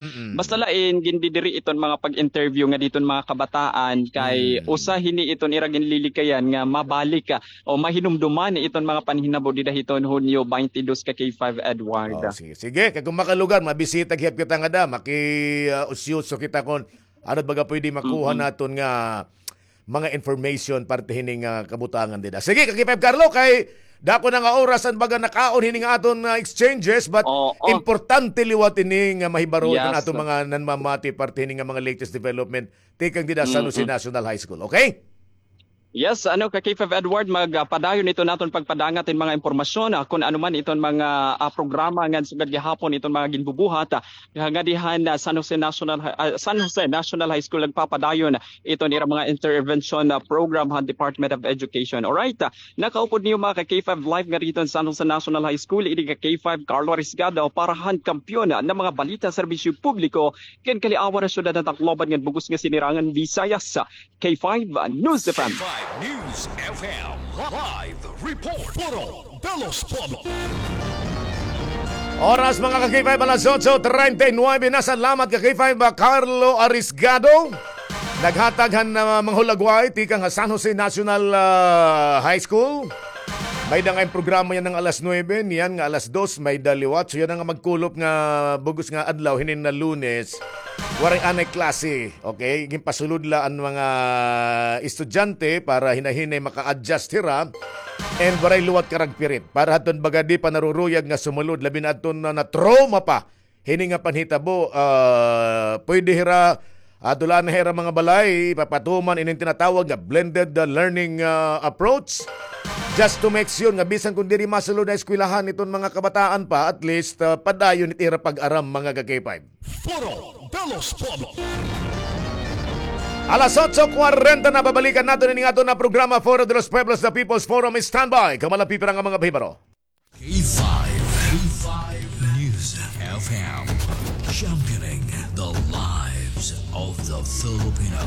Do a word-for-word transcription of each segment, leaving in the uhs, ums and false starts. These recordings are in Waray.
Mm-mm. Basta lain, gindidiri iton mga pag-interview nga diton mga kabataan kay Mm. usa hini iton ira ginlilikayan nga mabalik, ah, o mahinumduman iton mga panhinabo dida hiton Hunyo twenty-two ka K five Edward. Oh, sige. Sige, kay kung makalugar, mabisita gihap kita ngada, maki, ah, usyoso kita kon ano baga pwede makuha Mm-mm. naton nga mga information parte hini nga kabutangan dida. Sige, ka K five Carlo, kay dako na nga oras an baga nakaon hini nga aton, ah, exchanges, but Oo. importante liwat ini nga mahibaro iton Yes. aton mga nanmamati parte hini nga mga latest development tikang dida sa San Jose Mm-mm. National High School. Okay? Yes, ano, ka K five Edward, magpadayon ito naton pagpadangat in mga impormasyon, ah, kun ano man iton mga, ah, programa nga sugad gihapon iton mga ginbubuhat, ah, nga dihan, ah, San Jose National Hi-, ah, San Jose National High School nagpapadayon iton ira mga intervention, ah, program han Department of Education. Alright, ah, nakaupod niyo mga ka K five Live nga dito sa San Jose National High School, ini ka K five Carlo Risgado para han kampiyon, ah, ng mga balita, serbisyo publiko, ken kaliawan han syudad han Tacloban ngan bug-os nga sinirangan Visayas. K five News F M. K five News F M live report. Puro Belos Pueblo. Oras, mga ka K five, alas otso treinta y nueve na. Salamat, ka K five, Carlo Arisgado. Naghatag han, ah, mga hulagway tikang ha San Jose National, ah, High School. May-ada nga programa yana nga alas nuebe, niyan nga alas dos, may-ada liwat. So, yana nga magkulop nga bug-os nga adlaw, hinin na Lunes. Waray anay klase, okay? Ginpasulod la an mga estudyante para hinay-hinay maka-adjust hira. And waray liwat karagpirit. Para hadton baga di pa naruruyag nga sumulod, labi na adton na, na-trauma pa hini nga panhitabo, ah, pwede hira, ah, dulaan na hira mga balay, papatuman inin tinatawag nga blended, ah, learning, ah, approach. Just to make sure nga bisan kun diri masulod ha eskwelahan iton mga kabataan pa, at least, ah, padayon it ira pag-aram, mga ka K five. Puro Belos Pueblo. Alas otso kwarenta na, babalikan naton ini nga aton nga programa, Foro de los Pueblos, The People's Forum. Standby, kamo la pipira nga mga bahibaro. K five, K five News F M, championing the lives of the Filipino.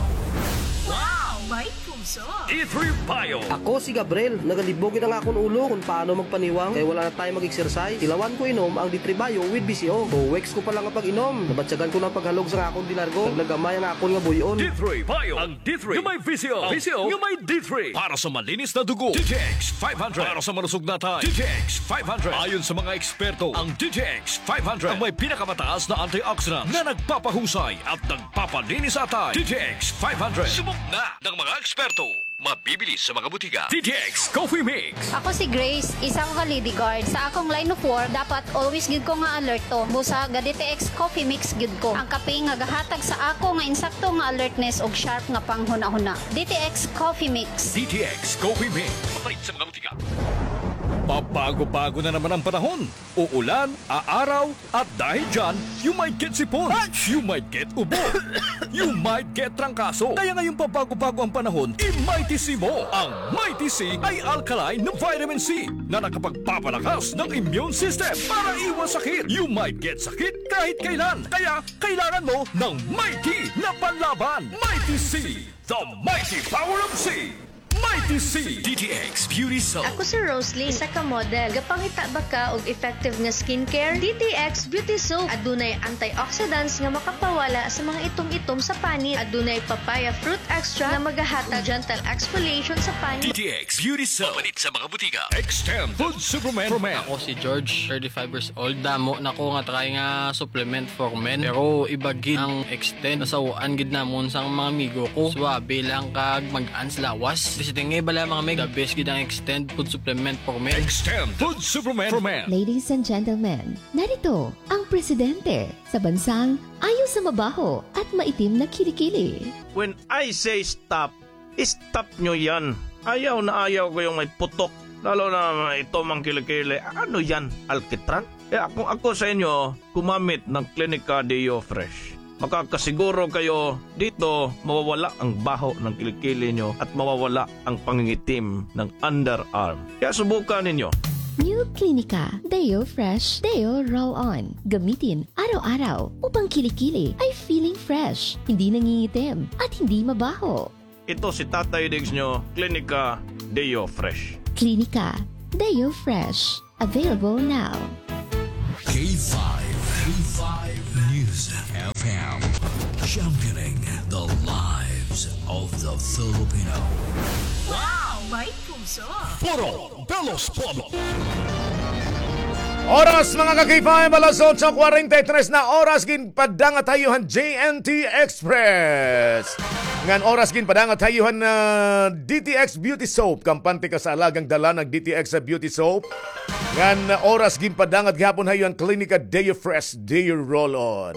Wow! May puso! D three Bio. Ako si Gabriel. Nagalibog gid an akon ulo kon paano magpaniwang kay wala na time mag-exercise. Tilawan ko inom ang D three Bio with V C O. Two weeks ko pa lang nga pag-inom, nabatyagan ko na an paghalog sa akon dilargo. Naglagamay an akon nga buy-on. D three Bio. Ang D three nga may V C O. V C O nga may D three. Para sa malinis na dugo, D T X five hundred. Para sa malusog na atay, D T X five hundred. Ayon sa mga eksperto, ang D T X five hundred ang may pinakamataas na antioxidant na nagpapahusay at nagpapalinis sa atay. D T X five hundred. Subok na ng mga eksperto. Mabibili sa mga butika. D T X Coffee Mix. Ako si Grace, isa ko ka Lady Guard. Sa akong line of work, dapat always gyud ko nga alerto. Busa ga D T X Coffee Mix gyud ko. Ang kape nga gahatag sa ako nga insakto nga alertness ug sharp nga panghunahuna. D T X Coffee Mix. D T X Coffee Mix. Mapalit sa mga butika. Pabago-bago na naman ang panahon. Uulan, aaraw, at dahil dyan, you might get sipon, you might get ubo, you might get trangkaso. Kaya ngayong pabago-bago ang panahon, i-Mighty C mo. Ang Mighty C ay alkaline na vitamin C na nakapagpapalakas ng immune system para iwas sakit. You might get sakit kahit kailan. Kaya kailangan mo ng Mighty na panlaban. Mighty C, the mighty power of C. Mighty C. D T X Beauty Soap. Ako si Rosalie, isa ka model. Gapangita ba ka og effective nga skincare? D T X Beauty Soap. Adunay antioxidants nga makapawala sa mga itom-itom sa panit. Adunay papaya fruit extract nga magahatag gentle exfoliation sa panit. D T X Beauty Soap. Mapalit sa mga butika. Extend Food Supplement for Men. Ako si George, thirty-five years old. Damo na ko nga try nga supplement for men. Pero iba gid ang Extend. Nasaw-an gid namon sang mga amigo ko. Suabe lang kag mag-an sa lawas. Visiting nga bala, mga mig. The best gid ang Extend food supplement for men. Extend food supplement for men. Ladies and gentlemen, narito ang presidente sa bansang ayaw sa mabaho at maitim na kilikili. When I say stop, stop nyo yan. Ayaw na ayaw ko yung may putok. Lalo na may itom ang kilikili. Ano yan? Alkitran? Kaya kung ako sa inyo, gumamit ng Clinica Deo Fresh. Makakasiguro kayo dito mawawala ang baho ng kilikili nyo at mawawala ang pangingitim ng underarm. Kaya subukan ninyo. New Clinica Deo Fresh Deo Roll On. Gamitin araw-araw upang kilikili ay feeling fresh, hindi nangingitim, at hindi mabaho. Ito si Tatay Diggs nyo, Clinica Deo Fresh. Clinica Deo Fresh. Available now. K five, K five News Championing the lives of the Filipino. Wow! May puso! Foro de los Pueblos. Oras, mga ka-K five, alas otso kwarenta y tres na oras, ginpadangat ha iyo han J N T Express. Ngan oras, ginpadangat ha iyo han, ah, D T X Beauty Soap. Kampante ka sa alagang dala ng D T X Beauty Soap. Ngan oras, ginpadangat gihapon ha iyo han Klinika Deo Fresh Deo Roll-On.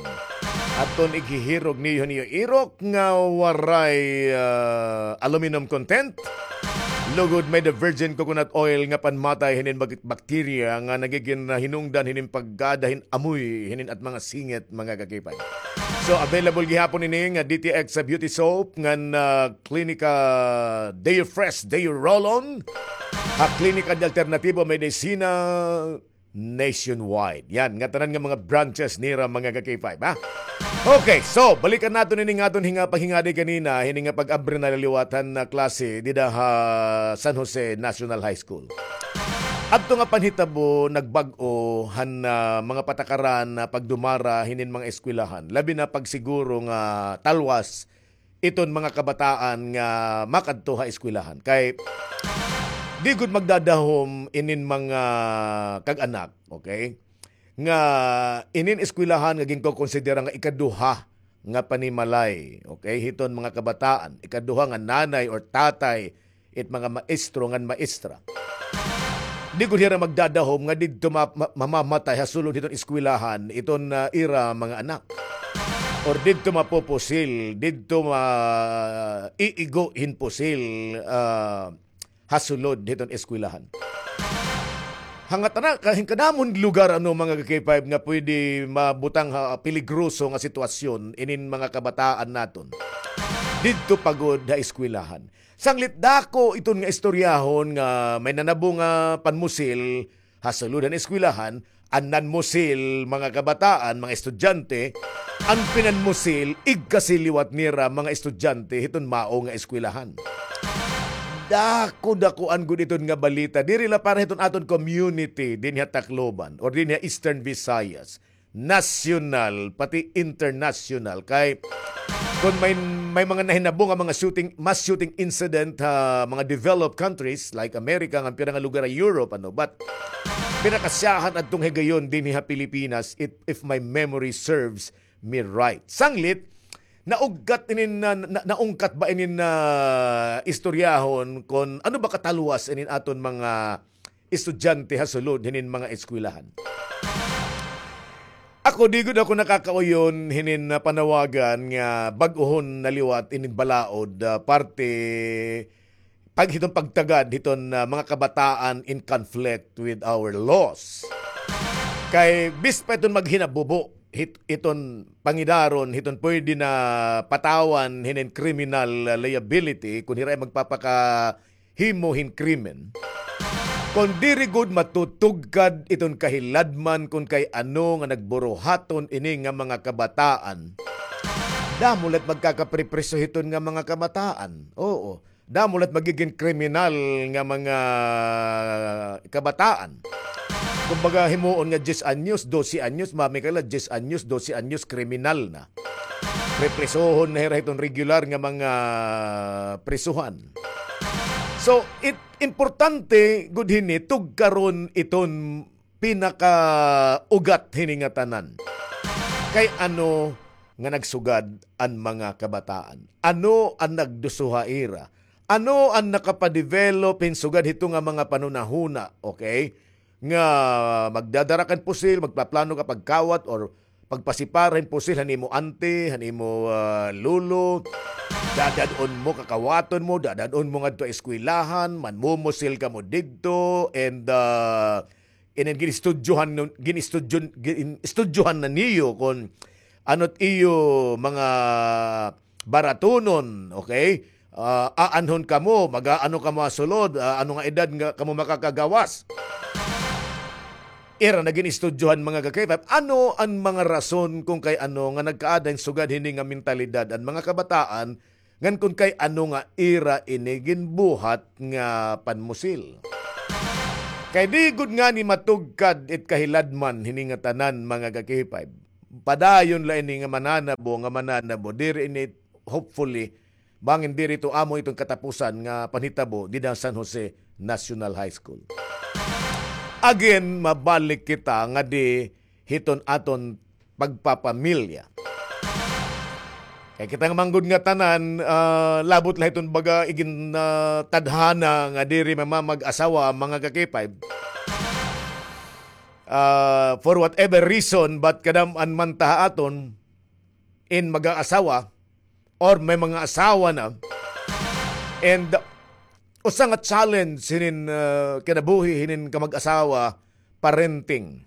Aton ighihirog niyo han iyo irok nga waray, ah, aluminum content. Lugod may-ada virgin coconut oil nga panmatay hinin bak-, bakterya nga nagigin, ah, hinungdan hinin pagkada hin amoy hinin at mga singit, mga ka-K five. So, available gihapon ini nga D T X sa beauty soap ngan, ah, Klinika Deo Fresh Deo Roll-On. Ha Klinika de Alternativo Medicina nationwide. Yan, ngatanan nga mga branches nira, mga ka-K five, ha? Okay, so, balikan naton ini nga aton hinga-, paghingadi kanina, hini nga pag-abri na liwat han, ah, klase dida ha San Jose National High School. Adto nga panhitabo, nagbag-o han, ah, mga patakaran na pagdumara hinin mga eskwelahan. Labi na pagsiguro nga talwas iton mga kabataan nga makadto ha eskwelahan. Kay di gud magdadahom inin mga kag-anak, okay? Nga inin eskwelahan nga ginkokonsidera nga ikaduha nga panimalay, okay? Hiton mga kabataan, ikaduha nga nanay or tatay it mga maestro ngan maestra. Di gud hira magdadahom nga didto ma-, ma-, mamamatay ha sulod hiton eskwelahan iton, ah, ira mga anak. Or didto mapupusil, didto ma-, iigo hin pusil, ah, ha sulod hiton eskwelahan. Hangatan na, ka-, hin kadamon lugar, ano, mga ka-K five nga pwede mabutang ha peligroso nga sitwasyon inin mga kabataan naton. Didto pa gud ha eskwelahan. Sanglit dako iton nga istoryahon nga may nanabo nga panmusil ha sulod han eskwelahan, an nanmusil, mga kabataan, mga estudyante, an pinanmusil, igkasi liwat nira, mga estudyante, hiton mao nga eskwelahan. Dako-dakoan gud iton nga balita. Diri la para hiton aton community, dinhi ha Tacloban, or dinhi ha Eastern Visayas. Nasyonal, pati internasyonal. Kay, kon may, may mga nahinabo nga mga shooting, mass shooting incident ha mga developed countries like America, ngan pira nga lugar ha Europe, ano, but pinakasyahan adtong higayon dinhi ha Pilipinas, if, if my memory serves me right. Sanglit, naugkat inin na, na, naungkat ba inin na istoryahon kon ano ba katalwas inin aton mga estudyante ha sulod hinin mga eskwelahan. Ako, di gud ako nakakauyon hinin, ah, panawagan nga bag-ohon na liwat inin balaod, ah, parte pag hiton pagtagad hiton, ah, mga kabataan in conflict with our laws. Kay bis pa iton maghinabubo hit-, iton pangidaron hiton pwede na patawan hinin criminal, ah, liability kon hira magpapaka himo hin krimen. Kon diri gud matutugkad iton kahiladman kon kay ano nga nagburuhaton ini nga mga kabataan, damo la't magkakapripriso hiton nga mga kabataan. Oo. Damo la't magigin kriminal nga mga kabataan. Kumbaga, himuon nga diyes anyos, dose anyos, mamikala, diyes anyos, dose anyos, kriminal na. Priprisohon na hira hiton regular nga mga prisuhan. So, it, importante gud hini, tugkaron iton pinakaugat hini nga tanan. Kay ano nga nagsugad an mga kabataan? Ano an nagduso ha ira? Ano an nakapadevelop hin sugad hito nga mga panhunahuna, okay? Nga magdadara kan pusil, magpaplano ka pagkawat or pagpasipar hin pusil han imo auntie, han imo, ah, lolo, dadad-on mo, kakawaton mo, dadad-on mo ngadto eskwelahan, manmumusil kamo didto, and, ah, inin ginistudyohan nun, ginistudyon-, gin-, istudyohan na niyo kon ano't iyo mga baratunon, okay? Ah, aanhon kamo, mag-aano kamo ha sulod, ah, ano nga edad nga kamo makakagawas? Ira na ginistudyohan, mga ka-K five. Ano an mga rason kon kay ano nga nagkaada hin sugad hini nga mentalidad an mga kabataan, ngan kon kay ano nga ira ini ginbuhat nga panmusil? Kay di gud ngani matugkad it kahiladman hini nga tanan, mga ka-K five. padayon la ini nga mananabo, nga mananabo. Diri ini, hopefully, bangin diri ito amo iton katapusan nga panhitabo dida ha San Jose National High School. Again, mabalik kita ngadi hiton aton pagpapamilya. Kay kita nga man gud nga tanan, ah, labot la hiton baga igin, ah, tadhana nga diri mamamag-asawa, mga ka-K five. Ah, for whatever reason, but kadam-an man ta ha aton in mag-aasawa or may mga asawa na. And usa nga challenge hinin, ah, kinabuhi hinin kamag-asawa, parenting.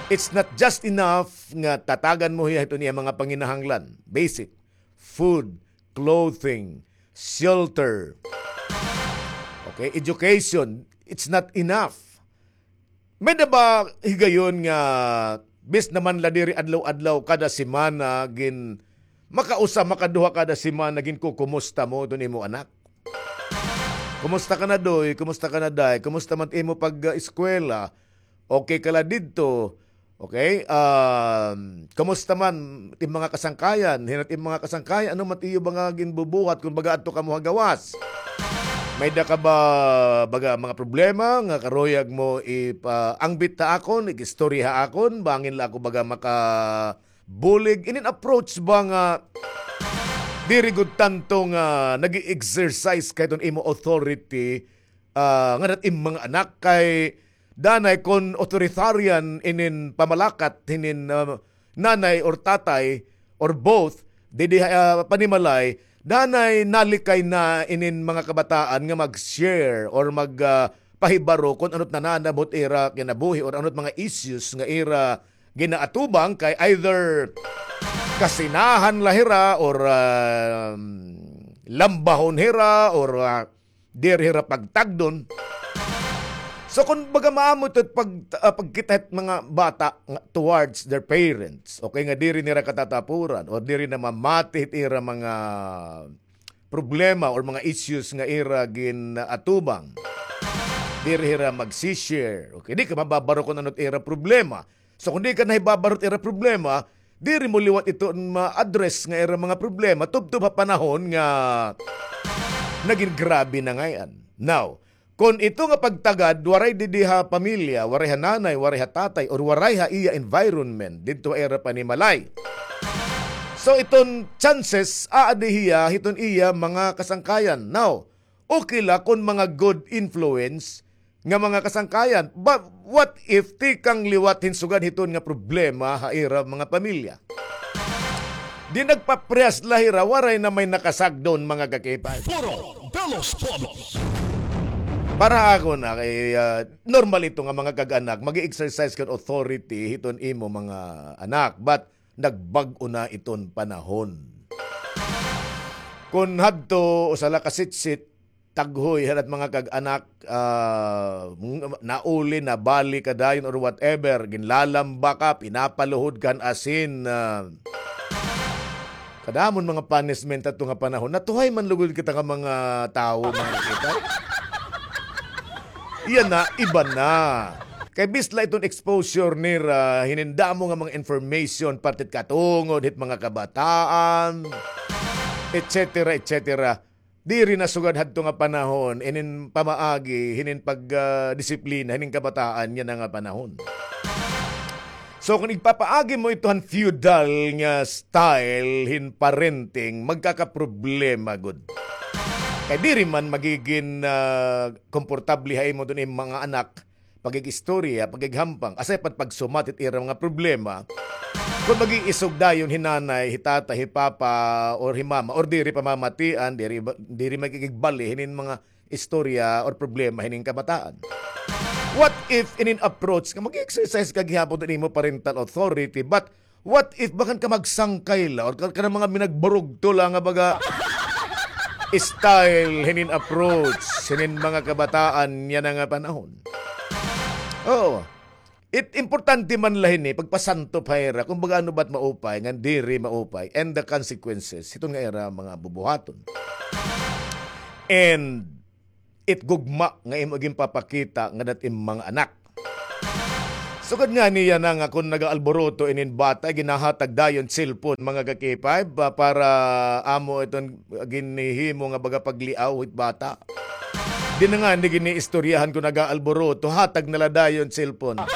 It's not just enough nga tatagan mo hiya hiton iya mga panginahanglan, basic, food, clothing, shelter, okay, education. It's not enough. May-ada ba higayon nga bis naman la diri adlaw-adlaw, kada semana, gin-, makausa, makaduha kada semana, ginkukumusta mo iton imo anak? Kumusta ka na, Doy? Kumusta ka na, Day? Kumusta man imo pag, ah, eskwela? Okay ka la didto? Okay? Um, kumusta man it im mga kasangkayan? Hin-o it im mga kasangkayan? Ano man it iyo ba nga ginbubuhat kon baga adto kamo ha gawas? May-ada ka ba baga mga problema nga karuyag mo ipaangbit ha akon, ig-istorya ha akon, bangin la ako baga makabulig? Inin approach ba nga diri gud tanto nga nag-e-exercise ka hiton imo authority, ah, ngada it im mga anak, kay danay kon authoritarian inin pamalakat hinin, ah, nanay or tatay or both didi ha, ah, panimalay, danay nalikay na inin mga kabataan nga mag-share or mag, ah, pahibaro kon ano it nananabo hit ira kinabuhi or ano it mga issues nga ira ginaatubang, kay either kasinahan la hira or, ah, lambahon hira or, ah, diri hira pagtagdon. So, kon baga maamo ito pag, ah, pagkita hit mga bata nga towards their parents, okay, nga diri nira katatapuran or diri namamati hit ira mga problema or mga issues nga ira gin-atubang, diri hira magsi-share. Okay, di ka mababaro kon ano it ira problema. So, kon di ka nahibabaro it ira problema, diri mo liwat iton ma-address nga ira mga problema tubtob ha panahon nga nagin grabe na ngay-an. Now, kon ito nga pagtagad, waray didi ha pamilya, waray ha nanay, waray ha tatay, or waray ha iya environment, didto ha ira panimalay. So, iton chances, aadi hiya hiton iya mga kasangkayan. Now, okay la kon mga good influence nga mga kasangkayan. But what if tikang liwat hin sugad hiton nga problema ha ira mga pamilya? Di nagpaprehas la hira, waray na may nakasagdon, mga ka-K five. Foro de los Pueblos. Para ha akon, ah, kay, ah, normal ito nga mga kag-anak, mag-exercise kan authority hiton imo mga anak. But nagbag-o na iton panahon. Kon hadto, usa la ka sitsit, taghoy, han at mga kag-anak, ah, ng-, nauli, nabali ka dayon or whatever, ginlalamba ka, pinapaluhod ka han asin, ah, kadamon mga punishment hadto nga panahon. Natuhay man lugod kita nga mga tawo, mga kita. Iya na, iba na. Kay bis la iton exposure nira, hinin damo nga mga information, parte hit katungod hit mga kabataan, et cetera, et cetera. Diri na sugad hadto nga panahon, inin pamaagi, hinin pag, ah, disiplina, hinin kabataan, yana nga panahon. So, kon igpapaagi mo ito han feudal nga style hin parenting, magkakaproblema gud. Kay diri man magigin, ah, komportable ha imo iton mga anak, pag-ig-istorya, pag-ighampang, aside pa pagsumat hit ira mga problema. Kon mag-iisog dayon hi nanay, hi tatay, hi papa, or hi mama, or diri pamamatian, diri ba, diri magkikigbali hinin mga istorya or problema hinin kabataan. What if inin approach nga mag-exercise ka gihapon hin imo parental authority, but what if bagan ka magsangkay la or ka, ka mga minagburugto la nga baga style hinin approach hinin mga kabataan yana nga panahon? Oo. It importante man la hini pagpasanto pa ira, kumbaga ano ba it maupay, ngan diri maupay, and the consequences hiton nga ira mga bubuhaton. And it gugma nga imo ginpapakita ngada it im mga anak. Sugad ngani yana nga kon nagaalburuto inin bata, ginahatag dayon cellphone, mga ka-K five, pa-, para amo iton ginhihimo nga baga pagliaw hit bata. Di na ngani giniistoryahan kon nagaalburuto, hatag na la dayon cellphone.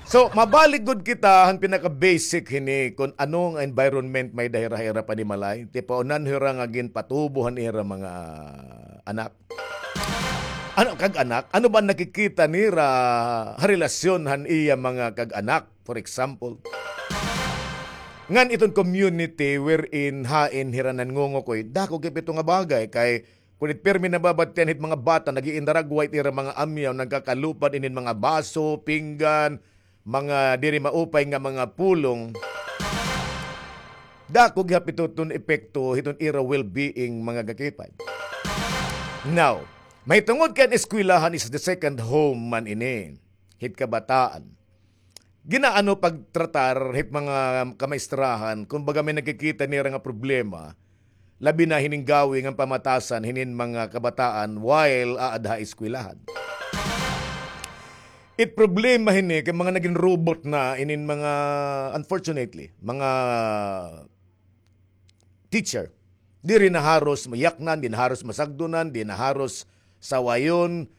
So, mabalik gud kita han pinaka-basic hini kon ano nga environment may-ada hira ha ira panimalay. Tipaunan hira nga ginpatubo han ira mga anak. Ano, kag-anak? Ano ba an nakikita nira ha relasyon han iya mga kag-anak, for example? Ngan iton community wherein hain hira nanngungukoy, dako gihap ito nga bagay kay kon it pirmi nababatian hit mga bata, nag-iindaragwa it ira mga amyaw, nagkakalupad inin mga baso, pinggan, mga diri maupay nga mga pulong. Dako gihap ito iton epekto hiton ira well-being, mga ka-K five. Now, mahitungod kay an eskwelahan is the second home man ini hit kabataan. Ginaano pagtratar hit mga kamaestrahan, kumbaga may nakikita nira nga problema, labi na hinin gawi ngan pamatasan hinin mga kabataan while aada ha eskwelahan. It problema hini kay mga nagin robot na inin mga, unfortunately, mga teacher. Diri na haros mayaknan, di na haros masagdonan, di na haros sawayon.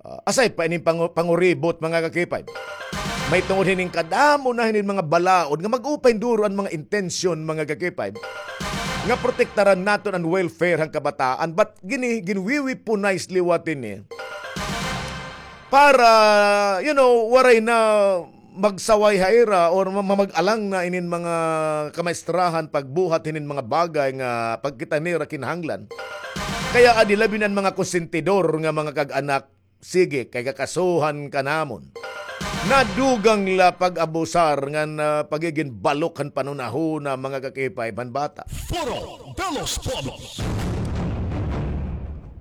Ah, aside pa inin pangu-, panguribot, mga ka-K five. Mahitungod hinin kadamo na hinin mga balaod nga mag-upay duro an mga intensyon, mga ka-K five, nga protektaran naton an welfare han kabataan. But gini-, ginwi-weaponize liwat ini para, you know, waray na magsaway ha ira or ma-, mamag-alang na inin mga kamaestrahan pagbuhat hinin mga bagay nga pagkita nira kinahanglan. Kay adi labi na an mga konsentidor nga mga kag-anak, sige, kay kakasuhan ka namon. Nadugang la pag-abusar ngan, ah, pagigin balok han panhunahuna, mga ka-K five, han bata. Foro de los Pueblos.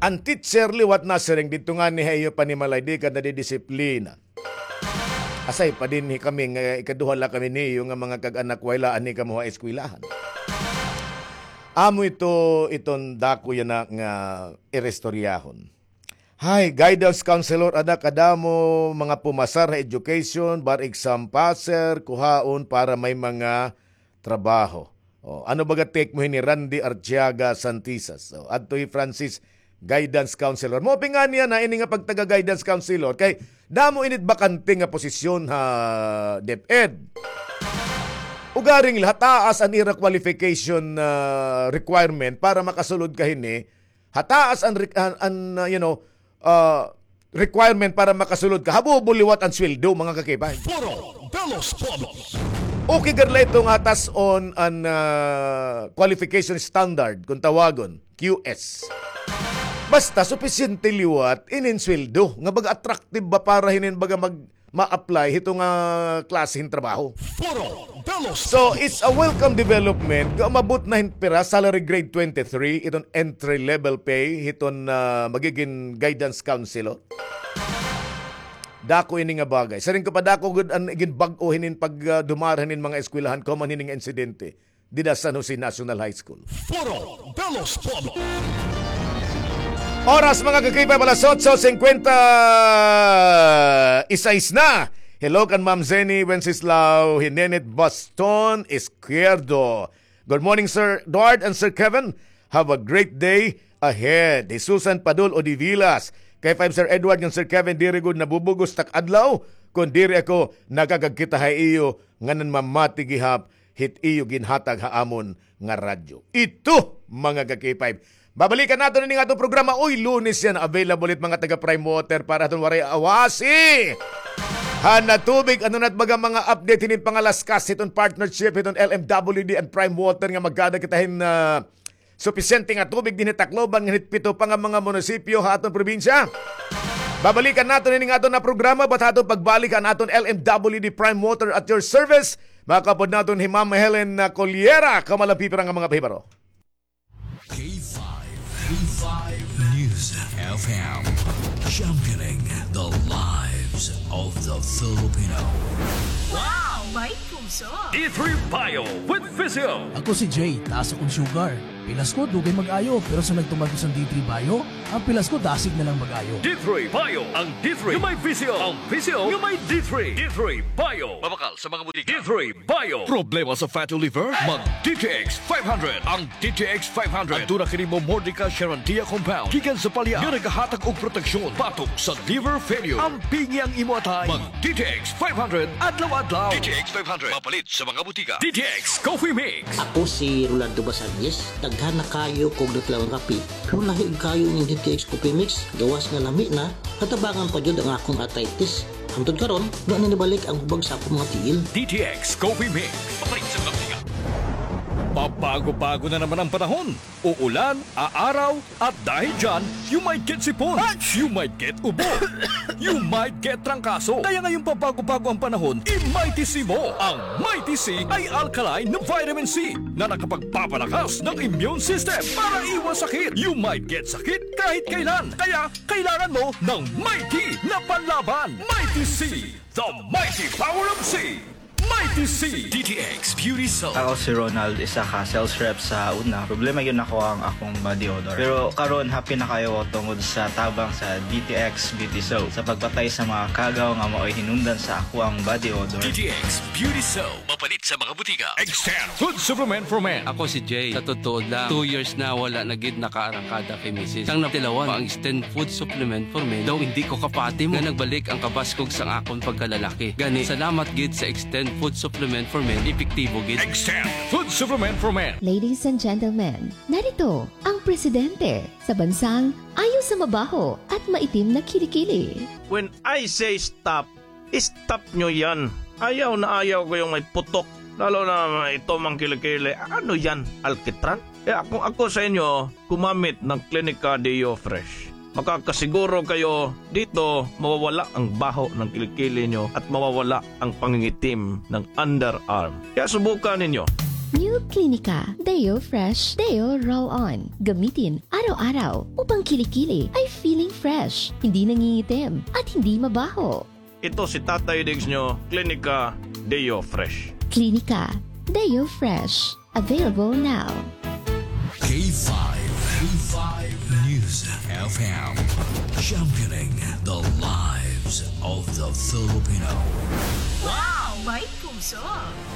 An teacher liwat nasiring didto ngani ha iyo panimalay, di ka nadidisiplina. Aside pa dinhi kami nga ikaduha la kami niyo nga mga kag-anak, wala anhi kamo ha eskwelahan. Amo ito, iton dako yana nga iristoryahon. Hi, guidance counselor, ada kadamo mga pumasar ha education, bar exam passer, kuhaon para may mga trabaho. O, ano baga take mo hini, Randy Artiaga Santisas? O, adto hi Francis, guidance counselor. Maupay ngani yana ini nga pagtaga guidance counselor kay damo init bakante nga posisyon ha DepEd. Ugaring la, hataas an ira qualification, ah, requirement para makasulod ka hini, hataas an, an, an, ah, you know, ah, requirement para makasulod ka, habubo liwat an sweldo, mga ka-K five. Foro de los Pueblos. Okay gad la ito nga tas-on an, ah, qualification standard, kung tawagon, Q S. Basta supisyente liwat inin sweldo, nga baga attractive ba para hinin baga mag-, ma-apply hito nga klase hin trabaho. Foro de los Pueblos. So, it's a welcome development nga umabot na hin pira, salary grade twenty-three, iton entry level pay hiton, ah, magigin guidance counselor. Dako ini nga bagay. Siring ko pa, dako gud an ginbag-o hinin pag, ah, dumara hinin mga eskwelahan, common hini nga insidente dida San Jose National High School. Foro de los Pueblos. Oras, mga ka-K five, alas otso singkwenta y seis na. Hello kan Ma'am Zenny Wenceslao Hinenet Baston Izquierdo. Good morning, Sir Edward and Sir Kevin. Have a great day ahead. Hi Susan Padul Odivilas. K five, Sir Edward ngan Sir Kevin, diri gud nabubugos tak adlaw kon diri ako nakakagkita ha iyo ngan namamati gihap hit iyo ginhatag ha amon nga radyo. Ito, mga ka-K five. Babalikan naton ini nga aton programa, uy, Lunes yana. Available it mga taga Prime Water para aton waray awasi han natubig. Ano na it baga mga update hinin pangalaskas hiton partnership hiton L M W D and Prime Water nga magkada kita hin, ah, supisyente nga tubig dinhi Tacloban ngan hit pito pa nga mga munisipyo ha aton probinsya. Babalikan naton ini nga aton nga programa, but ha aton pagbalik an aton L M W D Prime Water at your service. Makaupod naton hi Ma'am Helen, ah, Coliera, kamalampipiran nga mga pahibaro. K five, K five News F M, championing the lives of the Filipino. Wow! May puso! D three Bio with Physio. Ako si Jay, taas akong sugar. Pilas ko, dugay mag-ayo, pero sa nagtuman ko sa D three Bio, an pilas ko dasig na lang mag-ayo. D three Bio, ang D three nga may visyo, ang visyo nga may D three. D three Bio. Mabakal sa mga butika. D three Bio. Problema sa fatty liver? Mag D T X five hundred. Ang D T X five hundred. Aduna kini Momordica charantia compound gikan sa palya nga nagahatag og proteksyon batok sa liver failure. Ampingi ang imo atay. Mag D T X five hundred adlaw-adlaw. D T X five hundred. Mapalit sa mga butika. D T X Coffee Mix. Ako si Rolando Basanguis, daghan na kaayo ko og natilawon nga kape. Mulahi kaayo ining D T X Coffee Mix, gawas nga lami na, natabangan pa jud ang akon arthritis. Hangtod karon, wa na nibalik ang hubag sa akon mga tiil. D T X Coffee Mix. Mapalit sa mga butika. Pabago-bago na naman ang panahon. Uulan, aaraw, at dahil dyan, you might get sipon. You might get ubo. You might get trangkaso. Kaya ngayong pabago-bago ang panahon, i-Mighty C mo. Ang Mighty C ay alkaline na vitamin C na nakapagpapalakas ng immune system para iwas sakit. You might get sakit kahit kailan. Kaya kailangan mo ng Mighty na panlaban. Mighty C, the mighty power of C. Mighty C. D T X Beauty Soap. Ako si Ronald, isa ka sales rep sa una. Problema gyud nako ang akong body odor. Pero karon, happy na kaayo ko tungod sa tabang sa D T X Beauty Soap sa pagpatay sa mga kagaw nga maoy hinungdan sa akoang body odor. D T X Beauty Soap. Mapalit sa mga butika. Extend Food Supplement for Men. Ako si Jay. Sa totoo lang, two years na wala na gid nakaarangkada kay misis. Sang natilawan pa ang Extend Food Supplement for Men, daw indi ko kapati mo nga nagbalik ang kabaskog sang akon pagkalalaki. Gani, salamat gid sa Extend Food Supplement for Men, epektibo gid. Extend Food Supplement for Men. Ladies and gentlemen, narito ang presidente sa bansang ayo sa mabaho at maitim na kilikili. When I say stop, stop nyo yan. Ayaw na ayaw ko yung may putok. Lalo na ito mang kilikili. Ano yan? Alkitran? Kaya kung ako sa inyo, gumamit ng Clinica Deo Fresh. Makakasiguro kayo dito mawawala ang baho ng kilikili nyo at mawawala ang pangingitim ng underarm. Kaya subukan ninyo. New Clinica Deo Fresh Deo Roll On. Gamitin araw-araw upang kilikili ay feeling fresh, hindi nangingitim, at hindi mabaho. Ito si Tatay Diggs nyo, Clinica Deo Fresh. Clinica Deo Fresh. Available now. K five, K five News F M, championing the lives of the Filipino. Wow! May puso!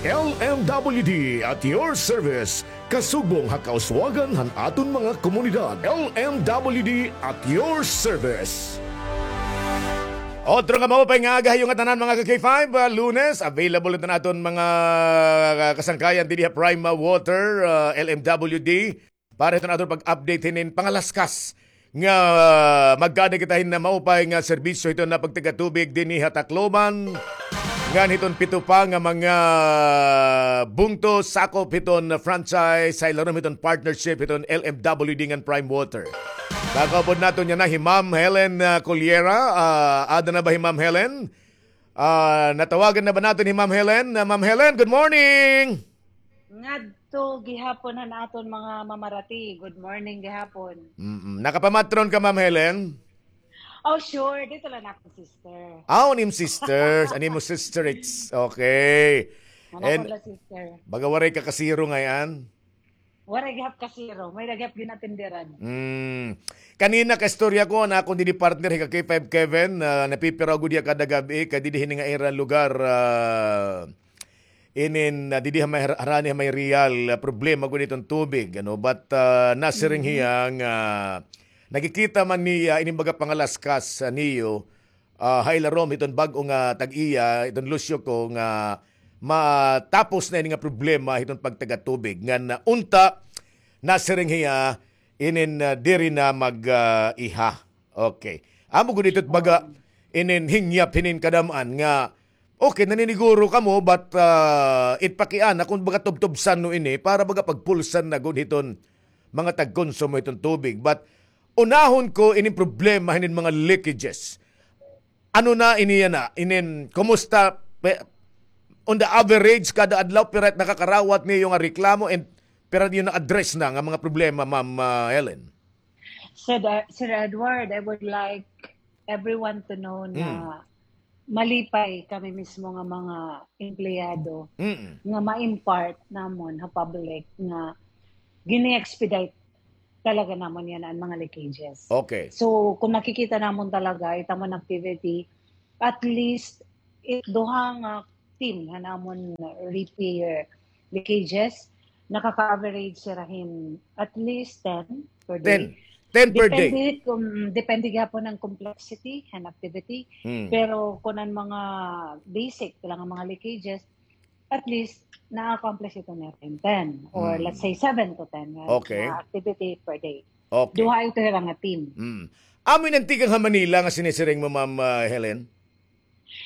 L M W D at your service. Kasugbong ha kauswagan han aton mga komunidad. L M W D at your service. Otro nga maupay nga aga ha iyo ngatanan, mga ka K five, ah, Lunes, available ito na aton mga, ah, kasangkayan didi ha Prima Water, ah, L M W D. Para hiton aton pag-update hinin pangalaskas nga magkada kita hin maupay nga serbisyo hiton pagtagatubig dinhi ha Tacloban. Ngan hiton pito pa nga mga bungto sakop hiton franchise, ha ilarom hiton partnership hiton L M W D ngan Prime Water. Kakaupod naton yana hi Ma'am Helen, ah, Cullera. Ah, ada na ba hi Ma'am Helen? Ah, natawagan na ba naton hi Ma'am Helen? Ah, Ma'am Helen, good morning! Ngadto gihapon han aton mga mamarati. Good morning gihapon. Mm-mm. Nakapamatron ka, Ma'am Helen? Oh, sure. Dito lang ako, sister. Ah, an im sisters. An imo sister, it's okay. Ano pala, sister? Baga waray ka kasiro ngay-an? Waray gihap kasiro. May gihap ginatindiran. Mm. Kanina, kaistorya ko, an akon didi partner, hi ka K five Kevin, ah, napipiraw gud hiya kada gab-i, kay didi hini nga ira lugar, ah, inin, ah, didi ha may har-, harani ha may Real, ah, problema gud iton tubig, ano, but, ah, nasiring hiya nga nakikita man niya inin baga pangalaskas, ah, niyo, ah, ha ilarom hiton bag-o nga tag-iya, hiton Lucio ko nga matapos na ini nga problema hiton pagtagatubig. Ngan, ah, unta, nasiring hiya, inin, ah, diri na mag, ah, iha. Okay. Amo gud ito baga inin hingyap hinin kadam-an nga, okay, naniniguro kamo, but, ah, it pakiana kon baga tubtubsan no ini para baga pagpulsan na gud hiton mga tagkonsumo hiton tubig. But unahon ko inin problema hinin mga leakages. Ano na ini yana? Inin, kumusta? Pe-, on the average, kada adlaw, pira it nakakarawat niyo nga reklamo and pira niyo na-address na nga mga problema, Ma'am, ah, Helen? Sir, Sir Edward, I would like everyone to know na malipay kami mismo nga mga empleyado nga ma-impart namon ha public nga gini-expedite talaga namon yana an mga leakages. Okay. So, kung makikita namon talaga, it amon activity, at least, it duha nga team han amon repair leakages, nakaka-average sira hin at least ten per day. Ten. Ten per day. Depende kung, depende gihapon an complexity han activity. Hmm. Pero kung an mga basic lang an mga leakages, at least, na-accomplish ito nira hin ten, or, hmm, let's say, seven to ten nga, okay, nga activity per day. Okay. Duha ito hira nga team. Hmm. Amo ini an tikang ha Manila nga sinisiring mo, Ma'am, ah, Helen?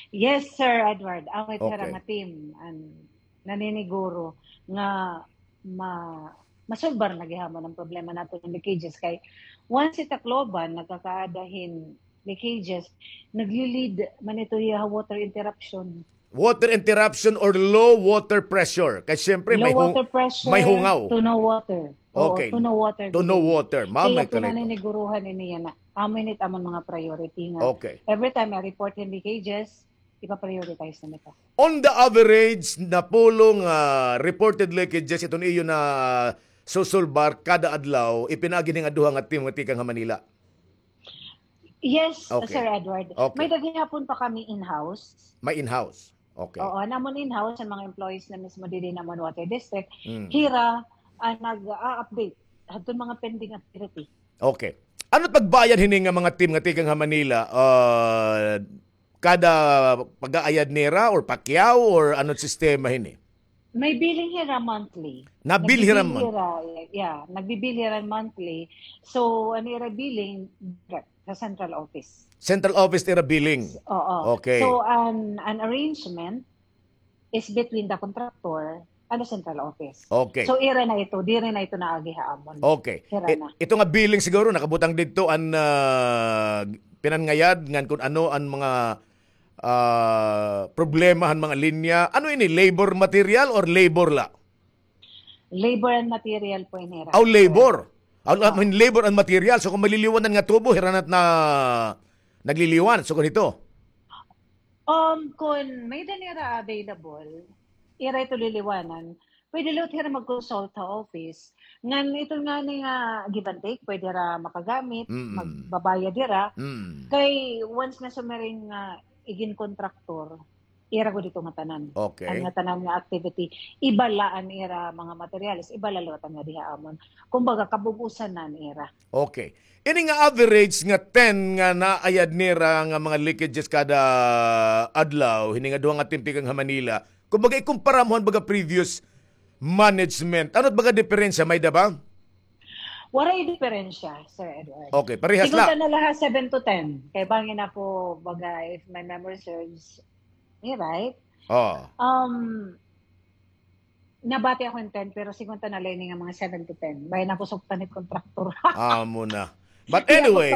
Yes, Sir Edward. Amo it hira, okay, nga team an naniniguro nga ma-, masolbar na gihapon an problema naton hin leakages kay once it Tacloban nagkakaada hin leakages, nagli-lead man ito hiya ha water interruption. Water interruption or low water pressure. Kay siyempre, low water pressure, may hungaw. To no water. Oo, okay. To no water. To no water. Ma'am, kay may ito kalit. Naniniguruhan ini yana. Amo ini it amon mga priority nga. Okay. Every time I report hin leakages, ipa-prioritize na nito. On the average, napulo nga reported leakages iton iyo nasusulbar kada adlaw, ipinaagi hin duha nga team nga tikang ha Manila? Yes, okay, Sir Edward. Okay. May-ada gihapon pa kami in-house. May in-house. Okay. Oo, namon in-house, an mga employees na mismo didi namon water district. Mm. Hira an nag-a-update hadton mga pending activity. Okay. Ano it pagbayad hini nga mga team nga tikang ha Manila? Ah, kada pag-aayad nira or pakyaw or ano it sistema hini? May billing hira monthly. Nabill hira monthly. Nagbibill hira, yeah, nagbibill hira monthly. So, an ira billing, direct sa central office. Central office ira billing. Oo. Okay. So, an, an arrangement is between the contractor and the central office. Okay. So, ira na ito, diri na ito naagi ha amon. Okay. Hira na. Ito nga billing siguro nakabutang didto an, ah, pinangayad ngan kun ano an mga ah, problema han mga linya. Ano ini? Labor material or labor la? Labor and material po ini, Ra. Aw, labor. Aw, I mean, labor and material. So, kung maliliwanan nga tubo, hira na it na nagliliwan. So, ganito. Um, kung may-ada nira available, ira ito liliwanan. Pwede liwat hira mag-consult ha office. Ngan ito ngani nga give and take, pwede hira makagamit, mm, magbabayad hira. Mm. Kay once nga sumiring nga igin-contractor, ira gud ito nga tanan. Okay. An nga tanan nga activity, iba la an ira mga materials, iba la liwat an nga diha amon. Kumbaga, kabug-osan na an ira. Okay. Ini nga average nga ten nga naayad nira nga mga leakages kada adlaw, hini nga duha nga team tikang ha Manila, kumbaga, ikumpara mo han baga previous management. Ano it baga diperensya? May-ada ba? Waray diperensya, Sir Edward. Okay, parehas la. Sigunta na la ha seven to ten. Kay bangin ako, baga, if my memory serves me right, oh, um, nabati ako hin ten, pero sigunta na la ini nga mga seven to ten. Bangin ako sugtan hit contractor. Amo na. But anyway,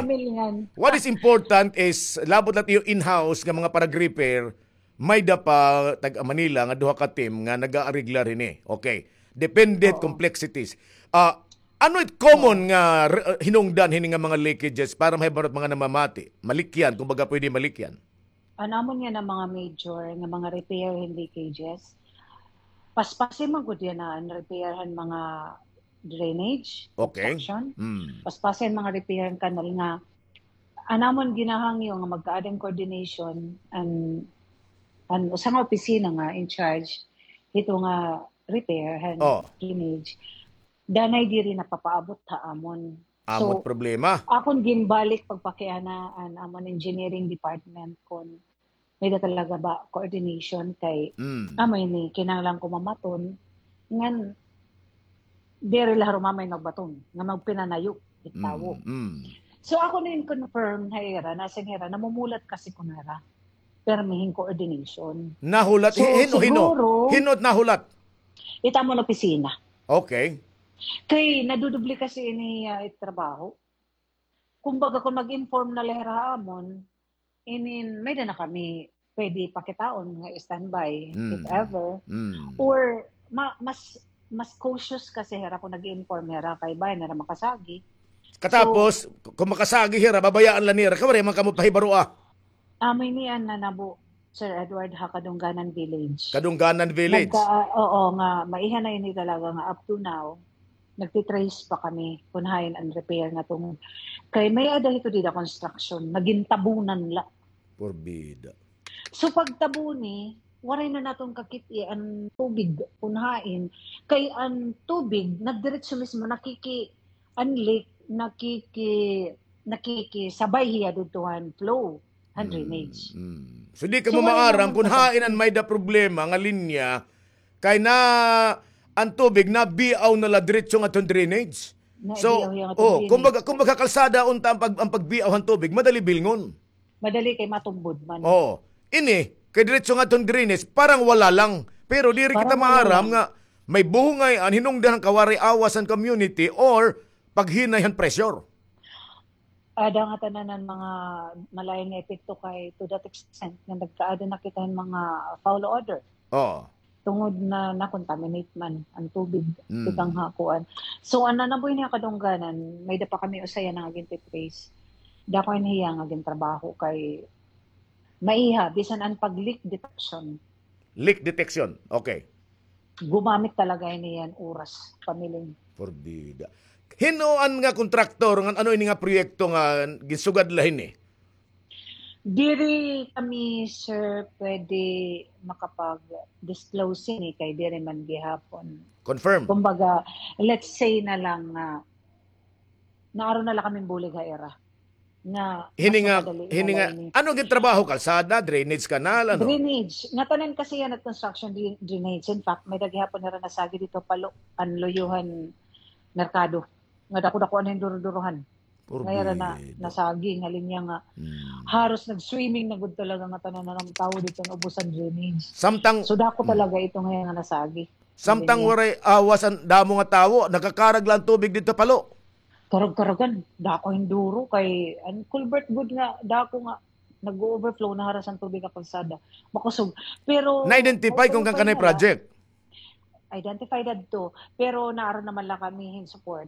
what is important is, labot la it iyo in-house nga mga parag-repair, may-ada pa tag-Manila nga duha ka team nga nag-aariglar hini. Okay. Depende, oo, complexities. Ah, ano it common, oo, nga re-, hinungdan hini nga mga leakages para mahibaro it mga namamati? Malikyan, kumbaga pwede malikyan. An amon yana mga major nga mga repair hin leakages, paspasi man gud yana an repair han mga drainage, okay, obstruction. Mm. Paspasi an mga repair han kanal nga an amon ginahangyo nga magkaada hin coordination an, an usa nga opisina nga in charge hito nga repair han, oh, drainage. Danay diri napapaabot ha amon. Amo it problema. So, akon ginbalik pagpakiana an amon engineering department kon may-ada talaga ba coordination kay, mm, amo ini, kinahanglan ko mamaton ngan diri la harumamay magbaton nga magpinanayo it tawo. Mm, mm. So, ako na in-confirm ha ira, nasiring hira, namumulat kasi kuno hira. Pirmi hin coordination. Nahulat, so, hin-, hin-, hin-, siguro, hin-o it nahulat? It amon opisina. Okay. Kay nadudoble kasi ini, ah, it trabaho. Kumbaga, kung mag-inform na la hira ha amon, I mean, may-ada na kami pwede pakitaon nga standby, mm, if ever. Mm. Or, ma-, mas, mas cautious kasi hira kung nag-i-inform hira kay bangin hira makasagi. Katapos, so, kung makasagi hira, babayaan la nira, kay waray man kamo pahibaroa. Amo ini an nanabo, Sir Edward, ha Kadungganan Village. Kadungganan Village. Nagka-, oo, nga, maiha na ini talaga nga up to now, nagtitrace pa kami kun hain an repair nga tungod. Kay may-ada hito dida construction, nga gintabunan la. Porbida. So, pagtabuni, waray na naton kakit-i an tubig kun hain. Kay an tubig, nagdiretso mismo, nakiki-, an leak, nakiki-, nakikisabay hiya didto han flow, han drainage. Mm. So, di kamo maaram kun hain an may-ada problema nga linya, kay na an tubig nabiaw na la diretso ngadto han drainage. So, kumbaga, kumbaga kalsada unta an pag-, an pagbiaw han tubig, madali bilngon. Madali kay matumbod man. Oo. Ini, kay diretso ngadto han drainage, parang wala lang. Pero diri kita maaram nga may buhungay an hinungdan han kawaray awas han community or paghinay han pressure. Ada nga tanan an mga malain nga epekto kay to that extent nga nagkaada na kita hin mga foul odor. Oo. Tungod na na-contaminate man an tubig, tikang ha kuan. So, an nanabuhi niya kadungganan, may-ada pa kami usa yana nga gintitrace. Dako ini hiya nga gintrabaho kay maiha, bisan an pag-leak detection. Leak detection, okay. Gumamit talaga ini hiya hin oras, pamiling. Porbida. Hin-o an nga kontraktor, ngan ano ini nga proyekto nga ginsugad la hini? Diri kami, sir, pwede makapag-disclose hini kay diri man gihapon. Confirm. Kumbaga, let's say na lang nga, naaron na la kami bulig ha ira. Nga, hini nga, hini nga, ano gintrabaho? Kalsada, drainage canal, ano? Drainage. Nga tanan kasi yana construction dra-, drainage. In fact, may-ada gihapon nira nasagi didto, Palo, an luyo han merkado. Nga dako-dako na hin duro-durohan. Nga ira na nasagi, nga linya nga haros nag-swimming na gud talaga nga tanan nga mga tawo didto nga ubos an drainage. Samtang, so, dako talaga ito nga iya nga nasagi. Samtang waray awas an damo nga tawo, nagkakarag la an tubig didto, Palo. Karag-karagan, dako hin duro kay an culvert gud nga dako nga nag-o-overflow, naharas an tubig ha kalsada. Makusog. Pero na-identify kon kankanay project? Identified adto, pero naaron naman la kami hin support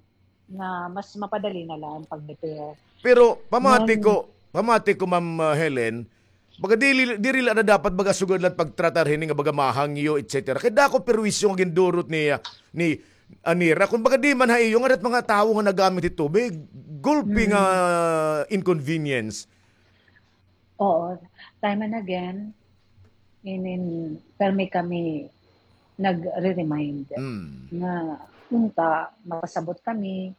na mas mapadali na la an pag-repair. Pero pamati ko, pamati ko, Ma'am, uh, Helen, baga dili, diri la na dapat baga sugad la pagtratar hini nga baga mahangyo, et cetera. Kay dako perwisyo nga gindurot ni, uh, ni, uh, nira. Kon baga di man ha iyo nga dat mga tawo nga nagamit hin tubig, gulpi nga inconvenience. Oo, time and again, inin, permi kami nagre-remind nga unta mapasabot kami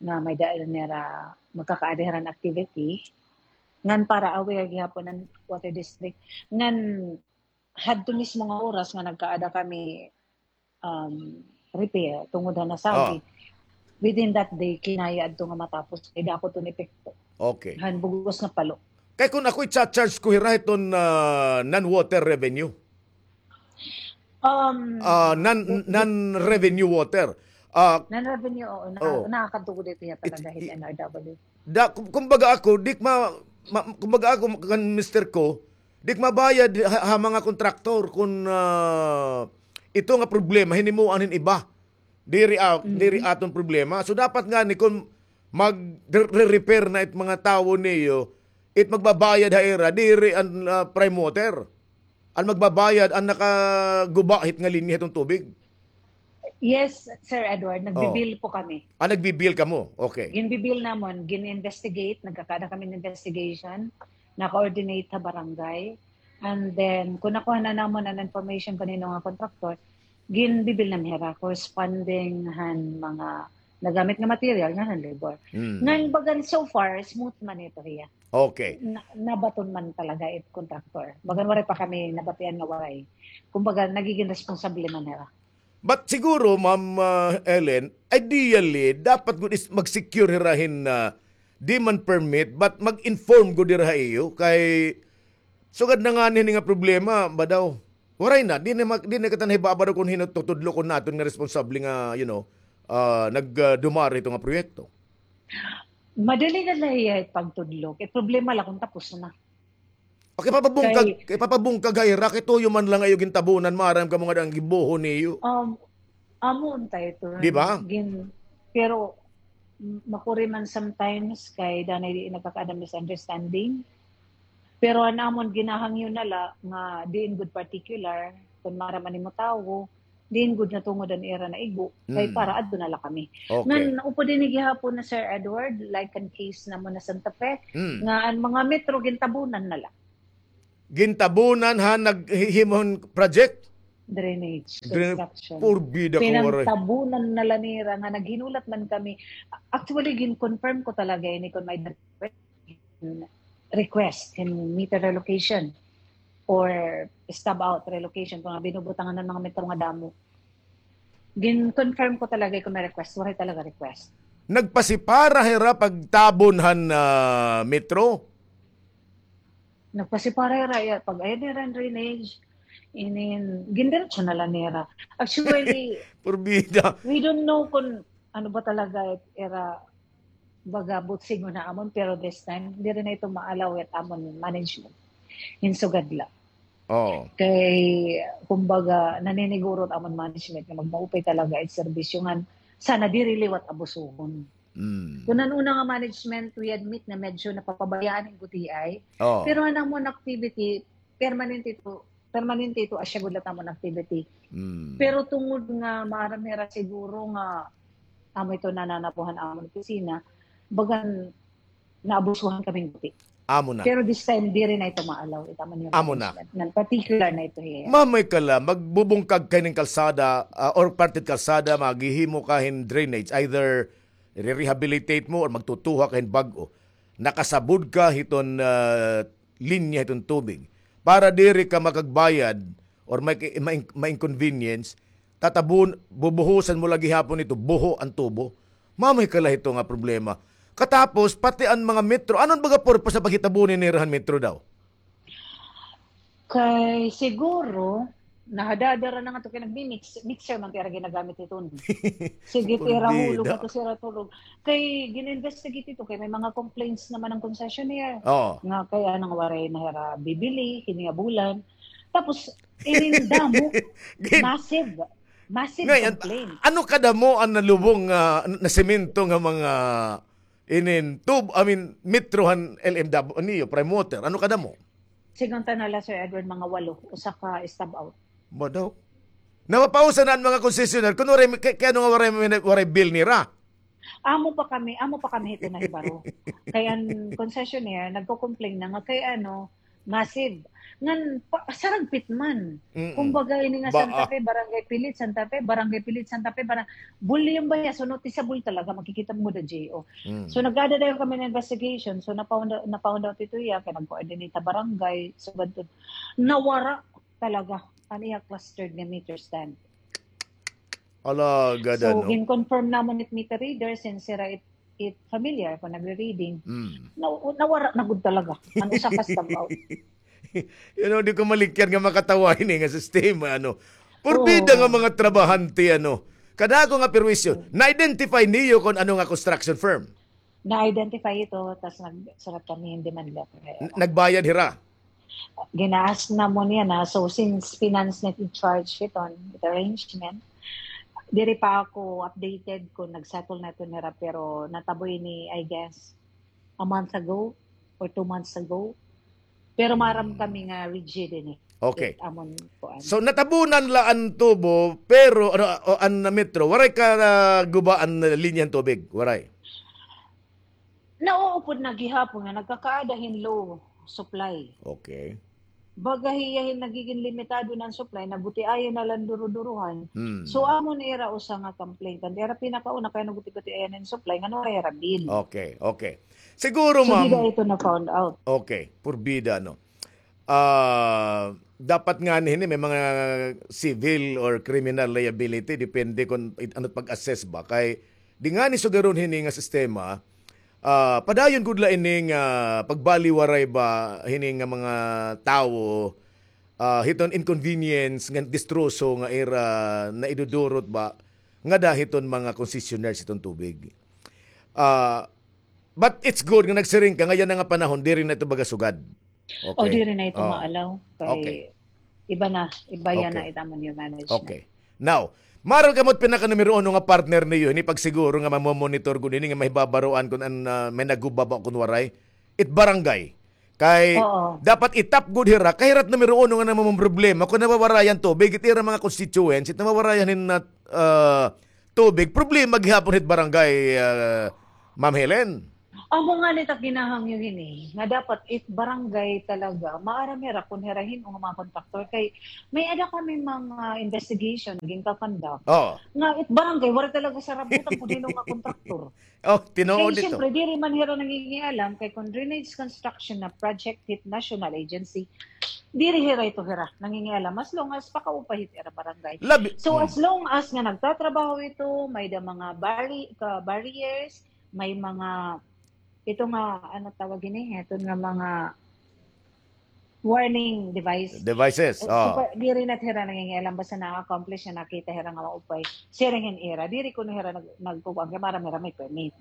nga may-ada nira magkakaada hira hin activity. Ngan para aware gihapon an water district. Ngan hadto mismo nga oras nga nagkaada kami um, repair tungod han nasagi. Within that day, kinaya adto nga matapos kay dako iton epekto. Okay. Han bug-os nga Palo. Kay kon ako i-charge ko hira hiton, ah, non-water revenue. Um, ah, non, non-revenue water. Ah, non-revenue, oo, nakakadto gud ito hiya talaga hin N R W. Da, kum-, kumbaga ako, di ko ma-, ma-, kumbaga ako, kan mister ko, di ko mabayad ha, ha mga kontraktor kon, ah, ito nga problema, hinimuan hin iba. Diri, ah, diri aton problema. So, dapat ngani kon mag-re-, re-repair na it mga tawo niyo, it magbabayad ha ira, diri an, ah, Prime Water. An magbabayad an nakaguba hit nga linya hiton tubig. Yes, Sir Edward, nagbi-bill po kami. Ah, nagbi-bill kamo? Okay. Ginbi-bill namon, gin-investigate, nagkakaada kami hin investigation, naka-coordinate ha barangay. And then, kon nakuha na namon an information kon hin-o nga contractor, ginbi-bill namon hira, corresponding han mga nagamit nga material ngan han labor. Ngan bagan so far, smooth man ito hiya. Okay. Na, nabaton man talaga it contractor. Bagan waray pa kami nabatian nga waray. Kumbaga, nagigin responsable man hira. But siguro, Ma'am, ah, Ellen, ideally, dapat gud is mag-secure hira hin, ah, demand permit, but mag-inform gud hira ha iyo kay sugad na ngani hini nga problema, ba daw? Waray na, di na ma-, di na kita nahibabaro kon hin-o tutudlo kon naton nga responsable nga, you know, ah, nag, ah, dumara hito nga proyekto. Madali na la hiya pagtudlo. Kay problema la kon tapos na. Okay, papabungkag, kay papabungkag ha ira, kay tuyo man la nga iyo gintabunan, maaram kamo nga daan gibuho niyo. Um, amo unta ito. Di ba? Gin-, pero, m-, makuri man sometimes kay danay di nagkakaada misunderstanding. Pero an amon ginahangyo na la nga diin gud particular, kon maaram an imo tawo, Diin gud natungod an ira naigo, kay para adto na la kami. Okay. Ngan upod ini gihapon na, Sir Edward, like an case namon na Santa Fe, nga an mga metro gintabunan na la. Gintabunan ha, naghihimo hin project? Drainage construction. Purbida ko, waray. Pinantabunan na la nira nga naghinulat man kami. Actually, gin-confirm ko talaga ini kon may request hin meter relocation or stub out relocation, kon binubutangan hin mga metro nga damo. Gin-confirm ko talaga kon may request, waray talaga request. Nagpasipara hira pagtabon han, ah, metro? Nagpasipara hira, iya, pag-ayo nira hin drainage, inin, gindiretso na la nira. Actually, purbida, we don't know kon ano ba talaga ira baga butsig na amon, pero this time, diri na ito ma-allow it amon management. Hin sugad la. Oo. Kay, kumbaga, naniniguro it amon management nga magmaupay talaga it serbisyo ngan sana diri liwat abusuhon. Mm. Kon an una nga management, we admit nga medyo napapabayaan hin gutiay. Oo. Pero an amon activity, permanente ito, permanente ito, asya gud la it amon activity. Mm. Pero tungod nga maaram hira siguro nga amo ito nananabuhan amon opisina, bagan naabusuhan kami hin guti. Amo na. Pero this time, diri na ito ma-allow. Amo na. Nan particular na ito hiya. Mamay ka la, magbubungkag ka hinin kalsada, ah, or parte hin kalsada, maghihimo ka hin drainage. Either re-rehabilitate mo or magtutuha ka hin bag-o. Nakasabod ka hiton, ah, linya hiton tubig. Para diri ka makagbayad or may, may, ma-inconvenience, tatabon, bubuhusan mo la gihapon ito, buho an tubo. Mamay ka la hito nga problema. Katapos, pati an mga metro, ano an baga purpose na paghitabo nira han metro daw? Kay siguro, nahadadara na nga to kay nagmi-mix, mixer man kay ira ginagamit ito. Sige, tira hulog ato sira tulog. Kay gin-investigate ito, kay may mga complaints naman ang concessionaire. Oo. Nga kay anong waray na hira bibili, kini nga bulan. Tapos, ining damo, massive. Massive complaint. Ano kadamo an nalubong nga, nasemento nga mga inin tub, I mean, metro han L M W, niyo, Prime Water? Ano kadamo? Sigon ta na la, Sir Edward, mga walo, usa ka stub out. Ba daw? Napapausa na an mga concessionaire. Kun waray, kay, kay ano nga waray, waray bill nira? Amo pa kami, amo pa kami hito nahibaro. Kay an concessionaire, nagko-complain na nga kay ano, massive. Ngan, pa, saragpit man. Mm-mm. Kumbaga, ini nga Santa Fe, Barangay Pilit, Santa Fe, Barangay Pilit, Santa Fe, barang-, volume ba niya? So, noticeable talaga, makikita mo da J O. Mm. So, nag-ada dayon kami na investigation. So, na-found out, na-found out ito iya, kay nag-coordinate ta barangay, so, ganito. Nawara talaga an iya clustered nga meter stand. Ala, gada, no? So, gin-confirm namon it meter reader since sira it, it familiar kon nagre-reading. Mm. Na, nawara na gud talaga. An usa ka stub out. You know, di ko malikyan nga makatawa ini nga sistema, ano. Purbida nga mga trabahante, ano. Kadako nga perwisyo. Na-identify niyo kon ano nga construction firm? Na-identify ito, tas nagsurat kami hin demand letter. N-, nagbayad hira? Gina-ask namon yana. So, since finance net in charge hiton, it arrangement, diri pa ako updated kon nag-settle na ito nira, pero natabo ini, I guess, a month ago or two months ago. Pero maaram kami nga rigid ini. Okay. Amon kuan. So, natabunan la an tubo, pero, ano, o, an metro, waray ka, ah, guba an linya han tubig? Waray? Nauupod na gihapon nga nagkakaada hin low supply. Okay. Baga hiya hin nagigin limitado na an supply, nagutiayan na la an duruduruhan. Hmm. So, amo na ira usa nga complaint. An ira pinakauna kay nagutiayan hin supply, nga waray ira bill. Okay, okay. Siguro, ma'am. So, dida ito na-found out. Okay, purbida, no? Ah, dapat ngani hini may mga civil or criminal liability, depende kon it-, ano it pag-assess ba. Kay di ngani sugaron hini nga sistema, ah, padayon gud la ini nga pagbaliwaray ba hini nga mga tawo, ah, hiton inconvenience ngan distroso nga ira naidudurot ba ngada hiton mga concessionaires hiton tubig. Ah, but it's good nga nagsiring ka nga yana nga panahon, diri na ito baga sugad. O, okay, diri na ito maalaw. Kay iba na, iba yana it amon nga management. Okay. Now, maaram kamo it pinaka numero uno nga partner niyo, hini pagsiguro nga mamomonitor gud hini nga mahibabaroan kon an, ah, may nagguba ba kon waray. It barangay. Kay dapat itap gud hira, kay hira it numero uno nga namamroblema kon nawawarayan tubig, it ira mga constituents, it nawawarayan hin, ah, tubig, problema gihapon hit barangay, ah, Ma'am Helen. Amo ngani it ak ginahangyo hini, nga dapat it barangay talaga, maaram hira kon hira hin-o nga mga kontraktor, kay may-ada kami mga investigation nga ginka-conduct. Oo. Nga it barangay, waray talaga sarabutan kon hin-o nga kontraktor. Oh, tinuod ito. Kay siyempre, diri man hira nangingialam, kay kon drainage construction na project hit national agency, diri hira ito hira nangingialam, as long as pakaupay hit ira barangay. So, as long as nga nagtatrabaho ito, may-ada mga barri-, ka-, barriers, may mga, ito nga, ano tawag ini? Ito nga mga warning device. Devices, so, oo. Diri na hira nangingialam, basta na-accomplish na, nakita hira nga maupay. Siring hin ira, diri kuno hira nag-, nagkukuan, kay maaram hira may permit.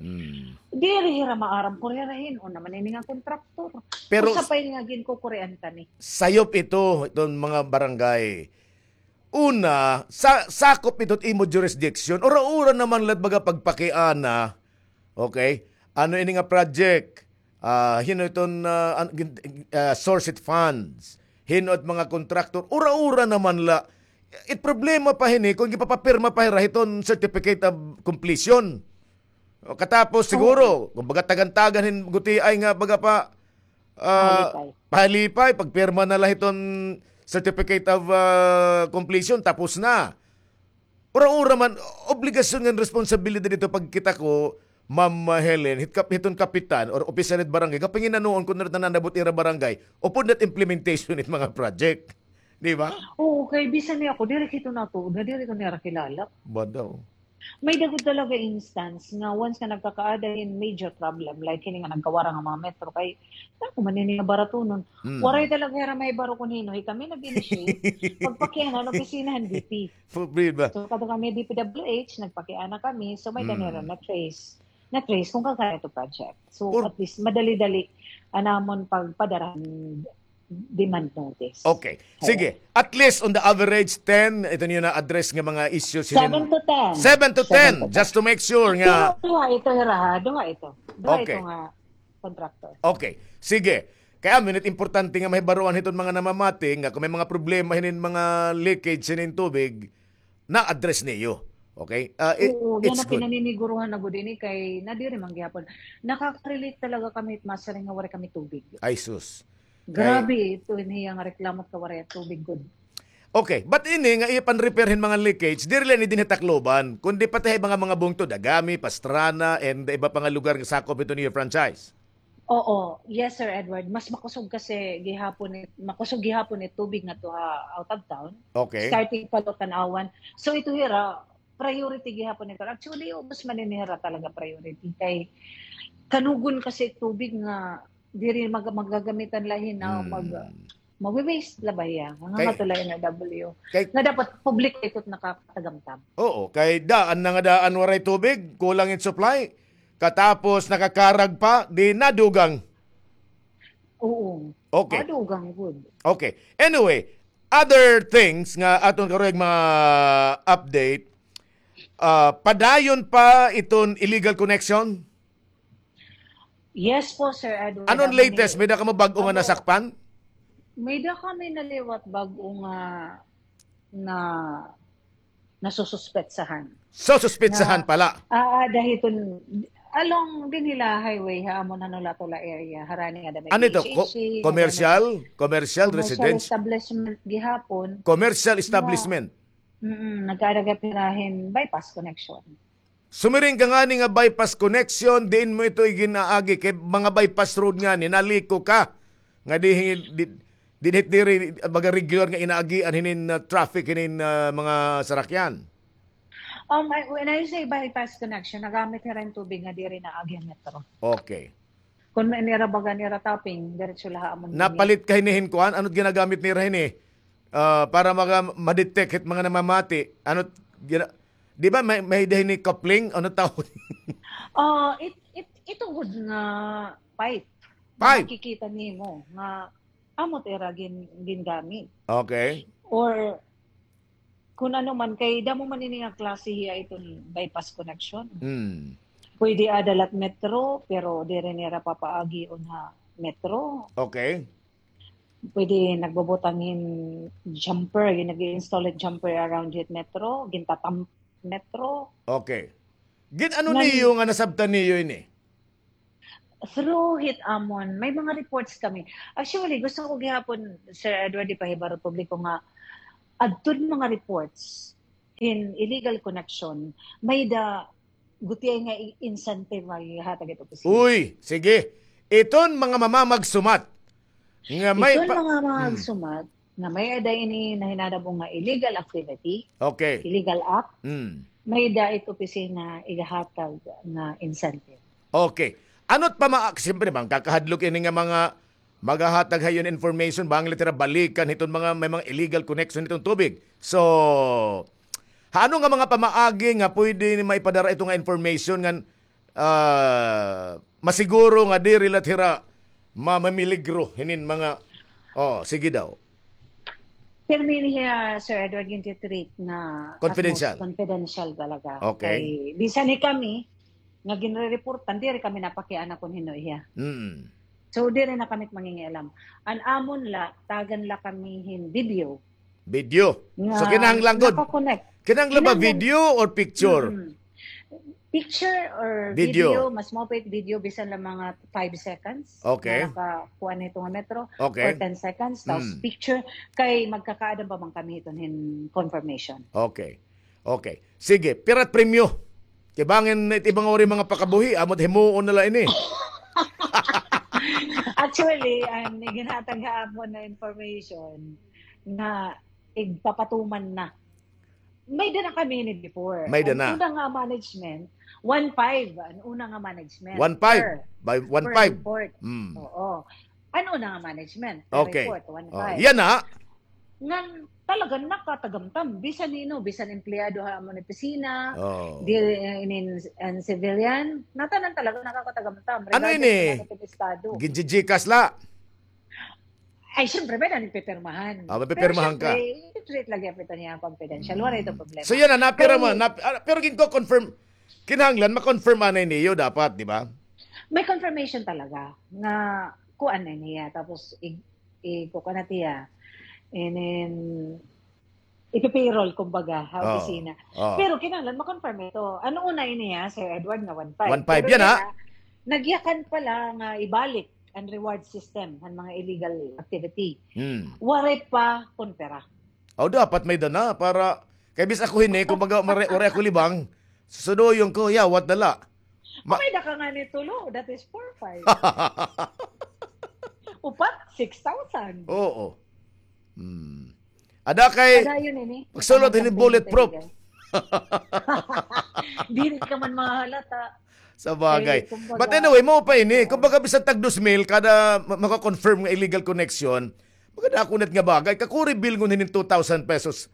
Diri hira maaram kon hira hin-o naman ini nga kontraktor. Pero usa pa ini nga ginkukurian kami. Sayop ito, iton mga barangay. Una, sa, sakop ito it imo jurisdiction, ura-ura naman la it baga pagpakiana, okay? Ano ini nga project? Ah, hin-o iton, ah, an-, gin-, ah, source it funds? Hin-o it mga kontraktor? Ura-ura naman la. It problema pa hini, kon gipapapirma pa hira hiton certificate of completion. O, katapos siguro, kumbaga tagan-tagan hin gutiay nga baga pa, ah, pahalipay, pagpirma na la hiton certificate of, ah, completion, tapos na. Ura-ura man, obligasyon ngan responsibilidad ito pagkita ko, Ma'am Helen, hit kap-, hiton kapitan or opisyal hit barangay, kapanginanuon kon ano it nananabot ira barangay, upod na it implementation hit mga project. Di ba? Oo, kay bisan ni ako, diri kito natuod nga diri ko nira kilala. Ba daw? May-ada gud talaga instance nga once nga nagkakaada hin major problem, like hini nga nagkawara nga mga metro, kay, ako man ini nga baratunon. Waray talaga hira mahibaro kon hin-o, hi kami nag-initiate, pagpakiana han opisina han D P. Problema. So, kadto kami D P W H, nagpakiana kami, so may-ada nira na-trace. Na-trace kon kan-o ito project. So, at least, madali-dali an amon pagpadara han demand notice. Okay. Sige. At least on the average, ten, ito niyo na-address nga mga issues. Seven to ten. Seven to ten, just to make sure nga. Duha ito, hira, ha? Duha ito. Duha ito nga contractor. Okay. Sige. Kay amo ini it importante nga mahibaroan hiton mga namamati nga kon may mga problema hinin mga leakage hinin tubig, na-address niyo. Okay? Ah, i-, oo, yana pinaniniguruhan na gud ini kay nadiri man gihapon. Nakaka-relate talaga kami, masiring nga waray kami tubig. Ay, sus. Grabe ito, ini nga reklamo ka waray tubig gud. Okay, but ini nga iya pan-repair hin mga leakage, diri la ini dinhi ha Tacloban, kundi pati ha iba nga mga bungto, Dagami, Pastrana, and iba pa nga lugar nga sakop hito niyo franchise. Oo. Yes, Sir Edward. Mas makusog kasi gihapon it, makusog gihapon it tubig ngadto ha out of town. Okay. Starting pa Tan-awan. So, ito hira, priority gihapon ito. Actually, ubos man ini hira talaga priority. Kay kanugon kasi tubig nga diri mag-, magagamitan la hin-o, mag-, mawi-waste la ba hiya? Nga ngadto la N R W. Nga dapat publiko ito it nakakatagamtam. Oo, kay daan na nga daan waray tubig, kulang it supply. Katapos nakakarag pa, di nadugang. Oo. Okay. Nadugang gud. Okay. Anyway, other things nga aton karuyag ma-update, ah, padayon pa iton illegal connection? Yes po, Sir Edward. Ano an latest? May-ada kamo bag-o nga nasakpan? May-ada kami naliwat bag-o nga na nasususpetsahan. Sususpetsahan pala. Aada hiton, along dinhi la highway ha amon ha Nolatula area, harani nga ada may P H H C. Ano ito? Commercial? Commercial, residence? Commercial establishment gihapon. Commercial establishment? Mm, nagkaada gihap hira hin bypass connection. Sumiring ka ngani nga bypass connection, diin mo ito iginaagi kay mga bypass road ngani, naliko ka. Nga di, di, di, di, diri, baga regular nga inaagian hinin, ah, traffic hinin, ah, mga sarakyan. Um, I, when I say bypass connection, nagamit hira hin tubig nga diri naagi ha metro. Okay. Kon may nira baga nira topping, diretso la ha amon. Napalit ka hini hin kuan? Ano it ginagamit nira hini? Ah, para maga-, ma-detect hit mga namamati. Ano it gina-, di ba may, may-ada hini coupling? Ano tawag? Ah, it, it, ito gud nga pipe. Pipe. Makikita nimo nga amo it ira gin-, gingamit. Okay. Or kun ano man, kay damo man ini nga klase hiya iton bypass connection. Mm. Pwede ada la hit metro, pero diri nira papaagion ha metro. Okay. Pwede nagbubutang hin jumper, yung nag-i-install hin jumper around hit metro, gintatamp metro. Okay. Gin-ano niyo nga nasabtan niyo ini? Through hit amon, may mga reports kami. Actually, gusto ko gihapon, Sir Edward, ipahibaro publiko nga, adton mga reports hin illegal connection, may-ada gutiay nga i-, incentive nga ihatag hit opisina. Uy, sige. Iton mga mamamagsumat nga may Iton pa-, mga hmm. mamamagsumat nga may-ada ini nahinanabo nga illegal activity, Okay. illegal act, Hmm. may-ada it opisina igahatag nga incentive. Okay. Ano't pama-, siyempre, bangin kakahadlok ini nga mga maghahatag ha iyo hin information, bangin la it ira balikan hiton mga, may mga illegal connection hiton Tubig. So, ha ano nga mga pamaagi nga pwede ni maipadara ito nga information ngan, ah, masiguro nga diri la it ira ma-, mamiligro hinin mga, oh, sige daw. Pirmi niya, Sir Edward, gin-treat nga Confidential. Utmost confidential talaga. Okay. Kay, bisan ni kami, nga ginre-reportan, diri kami napakiana kon hin-o hiya. Mm. So, diri na kami mangingialam. An amon la, tagan la kami hin video. Video. So, kinahanglan gud. Naka-connect. Kinahanglan ba video or picture? Mm. Picture or Video. video, mas maupay video, bisan la mga five seconds. Okay. Nga nakakuha na ito nga metro, Okay. or ten seconds, tapos Mm. picture, kay magkakaada pa man kami hiton hin confirmation. Okay. Okay. Sige, pira it premyo? Kay bangin it iba nga waray mga pakabuhi, amo it himuon na la ini. Actually, an iginhatag ha amon na information nga igpapatuman na. May-ada na kami ini before. May-ada na. An una nga management, one five, an una nga management. One five. Per, By one five. Per report. Mm. Oo. An una nga management, per Okay. report, Oh, one five. Yana. Ngan talaga nakatagamtam. Bisan hin-o, bisan empleyado ha amon opisina, Oh. di, eh, inin, an civilian, ngatanan talaga nakakatagamtam. Ano Regardless ini? Kung ano it estado. Ginji-GCash la? Ay, siyempre, may-ada nagpipirmahan. Ah, may pipirmahan ka. Pero siyempre, i-treat lagi ito niya confidential. Wala ito problema. So, yana, napira Kay mo, nap-, ah, pero ginko-confirm, kinahanglan, ma-confirm anay niyo dapat, di ba? May confirmation talaga nga kuan na niya. Tapos, i-, i-, kukuan na tiya. And then, ipi-payroll, kumbaga, ha Oo. opisina. Oo. Pero kinahanglan, ma-confirm ito. Ano una ini, ha, Sir Edward, nga one five? One five, Pero yana, yana, nagyakan pala nga ibalik an reward system han mga illegal activity. Hmm. Waray pa kon pira. Aw, dapat may-ada na para, kay bis ako hini, kumbaga, mare-, waray ako libang, susudoyon ko, yawat na la. Ma- May-ada ka ngani tulo, that is four, five. Upat, six thousand. Oo. Hmm. Ada kay Ada yun, ini. Pagsulod hini bulletproof. Dili ka man mahalata. Sa bagay. Kay, kumbaga, But anyway, mao pa ini. Kumbaga, bisan tag dos mil, kada ma-, maka-confirm nga illegal connection, magkadako na it nga bagay. Kakuri bilngon hinin two thousand pesos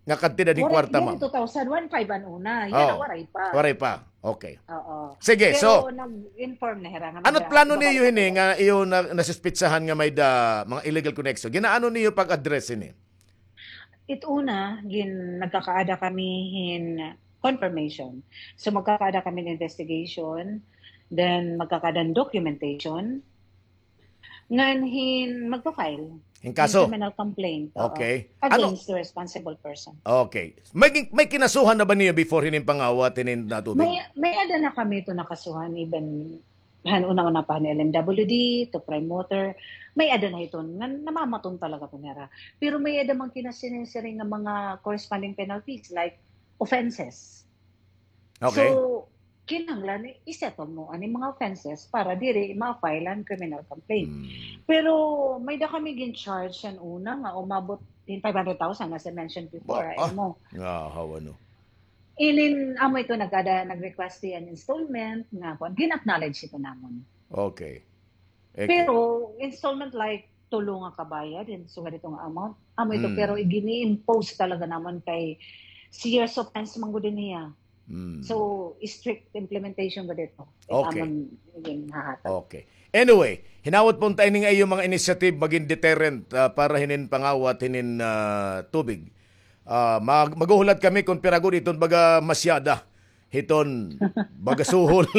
nga kantidad hin kwarta, ma'am. Waray, two thousand, one five an una. Yan, waray pa. Waray pa. Okay. Oo. Sige, so, nag-inform na hira nga ano it plano niyo hini nga iyo na, nasuspitsahan nga may-ada mga illegal connection? Ginaano niyo pag-address hini? It una, gin-, nagkakaada kami hin confirmation. So, magkakaada kami hin investigation, then magkakaada hin documentation, ngan hin magpa-file hin kaso? Hin criminal complaint, oo. Okay. Against the responsible person. Okay. May, may kinasuhan na ba niyo before hinin pangawat, hinin natubig? May, may-ada na kami ito nakasuhan, even han una-una pa han L M W D, to Prime Water, may-ada na hiton, nga namamaton talaga ito nira. Pero may-ada man kinasiring-siring nga mga corresponding penalties, like offenses. Okay. So, kinahanglan i-settle mo ani mga offenses para diri ma-file an criminal complaint. Hmm. Pero may-ada kami gin-charge han una nga umabot hin five hundred thousand, as I mentioned before, ay mo. Nga, hawa, no? Inin, amo ito nagkada, nag-request hiya hin installment, nga kuan, gin-acknowledge ito namon. Okay. Pero installment like tulo nga kabayad, hin sugad ito nga amount. Amo ito, pero gini-impose talaga namon kay serious offense man gud ini hiya. So, strict implementation gud ito. Okay. Amon ginhahatag. Okay. Anyway, hinawot pa unta ini nga iyo mga initiative magin deterrent, ah, para hinin pangawat, hinin, ah, tubig. Ah, mag-, maghuhulat kami kon pira gud iton baga masyada hiton baga suhol.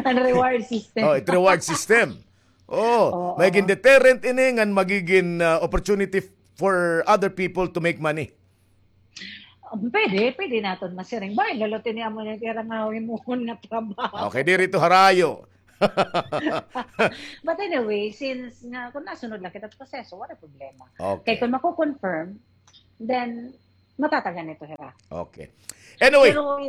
An reward system. Oh, it reward system. Oo, magigin deterrent ini ngan magigin, ah, opportunity for other people to make money. Um, pwede, pwede naton masiring. Bay, lalo tini amo na tira nga himuhon nga trabaho. Okay, diri to harayo. But anyway, since nga, kung nasunod lang kita sa proseso, wala problema. Okay. Kay kung mako-confirm, then, matatagan ito, hira. Okay. Anyway. Pero,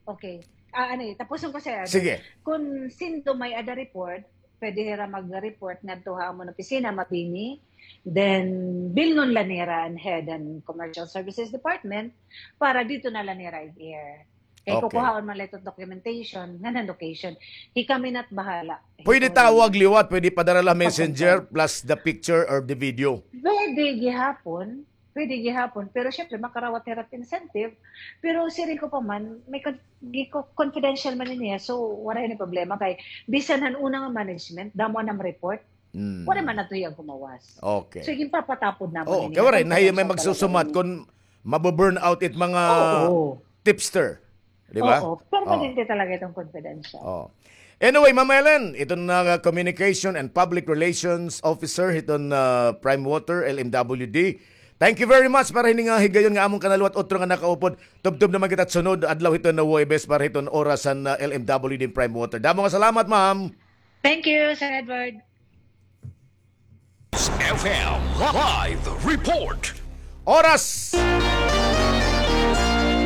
okay. Ah, ano eh, tapuson ko, sir. Sige. Kung sindo may-ada report, pwede hira mag-report ngadto ha amon opisina, mabini. Then, bilngon la nira an Head and Commercial Services Department para dito na la nira i-air. Kay kukuhaon man la ito documentation, ngan an location. Hi kami na't bahala. Pwede tawag liwat, pwede padara la messenger plus the picture or the video. Pwede gihapon. Pwede gihapon, pero syempre, makarawat hira't incentive. Pero siring ko pa man, may con-, gi-, co-, confidential man niya, so wala ini problema kay bisan han una nga management, damo na report. Wala man nato hiyang kumawas. Okay. So, ginpapatapod namon ini. Oo, kay waray na hiya may magsusumat kon mabu-burn out it mga tipster. Di ba? Oo, permanente talaga itong confidential. Oo. Anyway, Ma'am Ellen, iton na Communication and Public Relations Officer hiton, ah, Prime Water, L M W D. Thank you very much para hini nga higayon nga amon kanaluwat, utro nga nakaupod. Tubtob naman kita sunod adlaw hiton nga Huwebes para hiton oras han, ah, L M W D Prime Water. Damo nga salamat, ma'am. Thank you, Sir Edward. F M Live Report. Oras.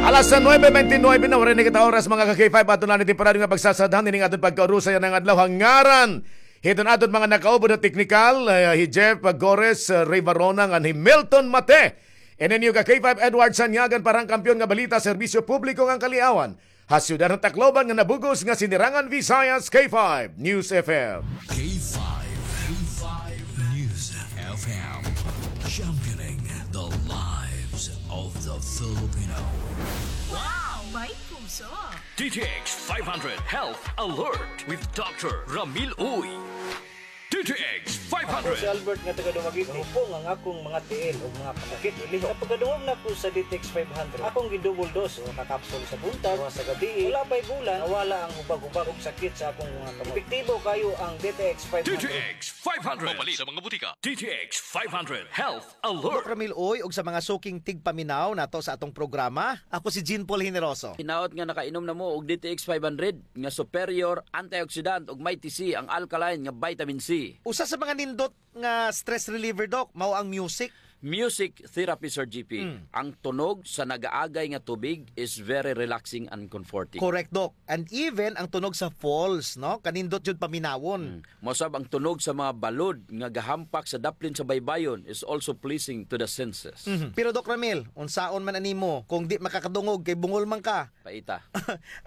Alas nuebe bente nuebe na, waray na kita oras, mga ka-K five. Aton na ini parado nga pagsasadhan ining aton pagkaurusay yana nga adlaw. Ha ngaran hiton aton mga nakaupod ha teknikal, eh, hi Jeff Gores, eh, Ray Varona, ngan hi Milton Mate. Ini an iyo ka-K five Edward Sanyagan para han Kampiyon nga Balita, Serbisyo Publiko ngan Kaliawan. Ha siyudad han Tacloban nga nabug-os nga Sinirangan Visayas, K five News F M. K five, K five News F M, championing the lives of the Filipino. Wow! May puso! D T X five hundred Health Alert with Doctor Ramil Uy. D T X five hundred. Ako si Albert nga taga Dumaguete. Mahupong ang akong mga tiil ug mga kasakit uliho. Sa pagkadungog nako sa D T X five hundred, akong gi-double dose, usa ka kapsul sa buntag, usa sa gabii. Wala pa'y bulan, nawala ang hubag-hubag ug sakit sa akong mga kamot. Epektibo kaayo ang D T X five hundred. D T X five hundred. Mapalit sa mga butika. D T X five hundred Health Alert. Doc Ramil Uy, ug sa mga suking tigpaminaw nato sa atong programa, ako si Jean Paul Generoso. Hinaot nga nakainom na mo og D T X five hundred nga superior antioxidant ug may T C ang alkaline nga vitamin C. Usa sa mga nindot nga stress reliever, Doc, mao ang music. Music therapy, Sir G P. Mm. Ang tunog sa nagaagay nga tubig is very relaxing and comforting. Correct, Doc. And even ang tunog sa falls, no? Kanindot jud paminawon. Mm. Mausab ang tunog sa mga balod nga gahampak sa daplin sa baybayon is also pleasing to the senses. Mhm. Pero, Doc Ramil, unsaon man animo kung di makakadungog kay bungol man ka? Paita.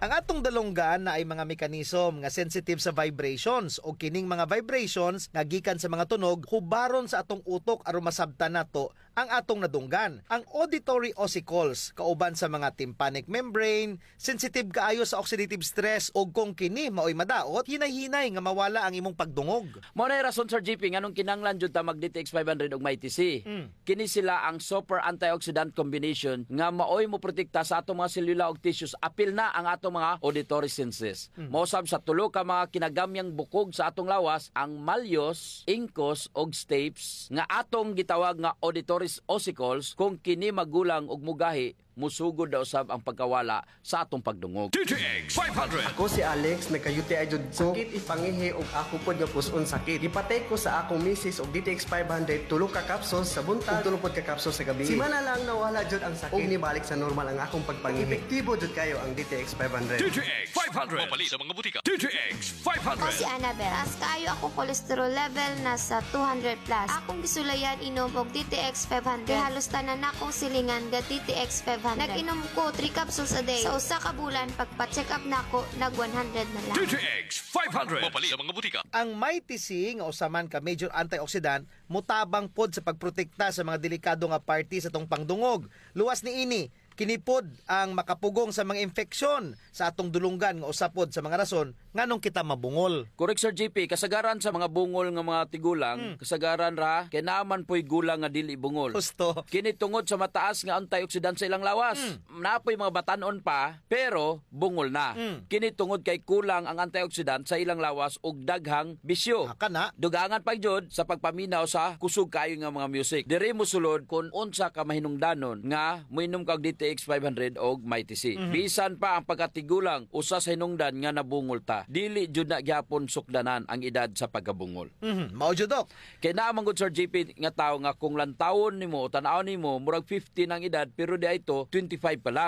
Ang atong dalunggan naay mga mechanism nga sensitive sa vibrations, ug kining mga vibrations nga gikan sa mga tunog hubaron sa atong utok aron masabtan nato ang atong nadunggan. Ang auditory ossicles, kauban sa mga tympanic membrane, sensitive kaayo sa oxidative stress, ug kung kini maoy madaot, hinay-hinay nga mawala ang imong pagdungog. Mao nay rason, Sir G P, nganong kinahanglan jud ta mag D T X five hundred ug may T C. Mm. Kini sila ang super antioxidant combination nga maoy moprotekta sa atong mga selula ug tissues, apil na ang atong mga auditory senses. Mm. Mausab sa tulo ka mga kinagamyang bukog sa atong lawas, ang malleus, incus, ug stapes, nga atong gitawag nga auditory ossicles, kung kini magulang ug mogahi, mosugod na usab ang pagkawala sa atong pagdungog. D T X five hundred. Ako si Alex, nagka-U T I jud ko. Sakit it pangihi ug ako pod nga pus-on sakit. Gipatake ko sa akong misis og D T X five hundred, tulo ka capsules sa buntag ug tulo pod ka capsules sa gabii. Semana lang nawala jud ang sakit ug nibalik sa normal ang akong pagpangihi. Epektibo jud kaayo ang D T X five hundred. D T X five hundred. Mapalit sa mga butika. D T X five hundred. Ako si Annabel. Taas kaayo akong cholesterol level, nasa two hundred plus. Akong gisulayan inom og D T X five hundred. Kay halos tanan nakong silingan ga D T X five hundred. Nag-inom ko three capsules a day. Sa usa ka bulan, pagpa-check up nako, nag one hundred na lang. D T X five hundred. Mapalit sa mga butika. Ang Mighty C nga usa man ka major antioxidant, motabang pod sa pagprotekta sa mga delikado nga parte sa atong pangdungog. Luwas niini, kini pod ang makapugong sa mga impeksyon sa atong dulunggan nga usa pod sa mga rason nganong kita mabungol? Correct, Sir G P. Kasagaran sa mga bungol nga mga tigulang, hmm, kasagaran ra, kay naa man po'y gulang nga dili bungol. Husto. Kini tungod sa mataas nga antioxidant sa ilang lawas. Hmm. Naa po'y mga batan-on pa, pero bungol na. Mm. Kini tungod kay kulang ang antioxidant sa ilang lawas ug daghang bisyo. Ah, kana. Dugangan pa gyud sa pagpaminaw sa kusog kaayo nga mga music. Diri mosulod kun unsa ka mahinungdanon nga moinom ka og D T X five hundred og Mighty C. Mhm. Bisan pa ang pagkatigulang, usa sa hinungdan nga nabungol ta. Dili jud na gihapon sukdanan ang edad sa pagkabungol. Mhm. Mao jud, Doc. Kay naa man gud, Sir G P, nga tawo nga kung lantawon nimo o tan-awon nimo, murag fifty na ang edad, pero di ay to, twenty-five pa lang.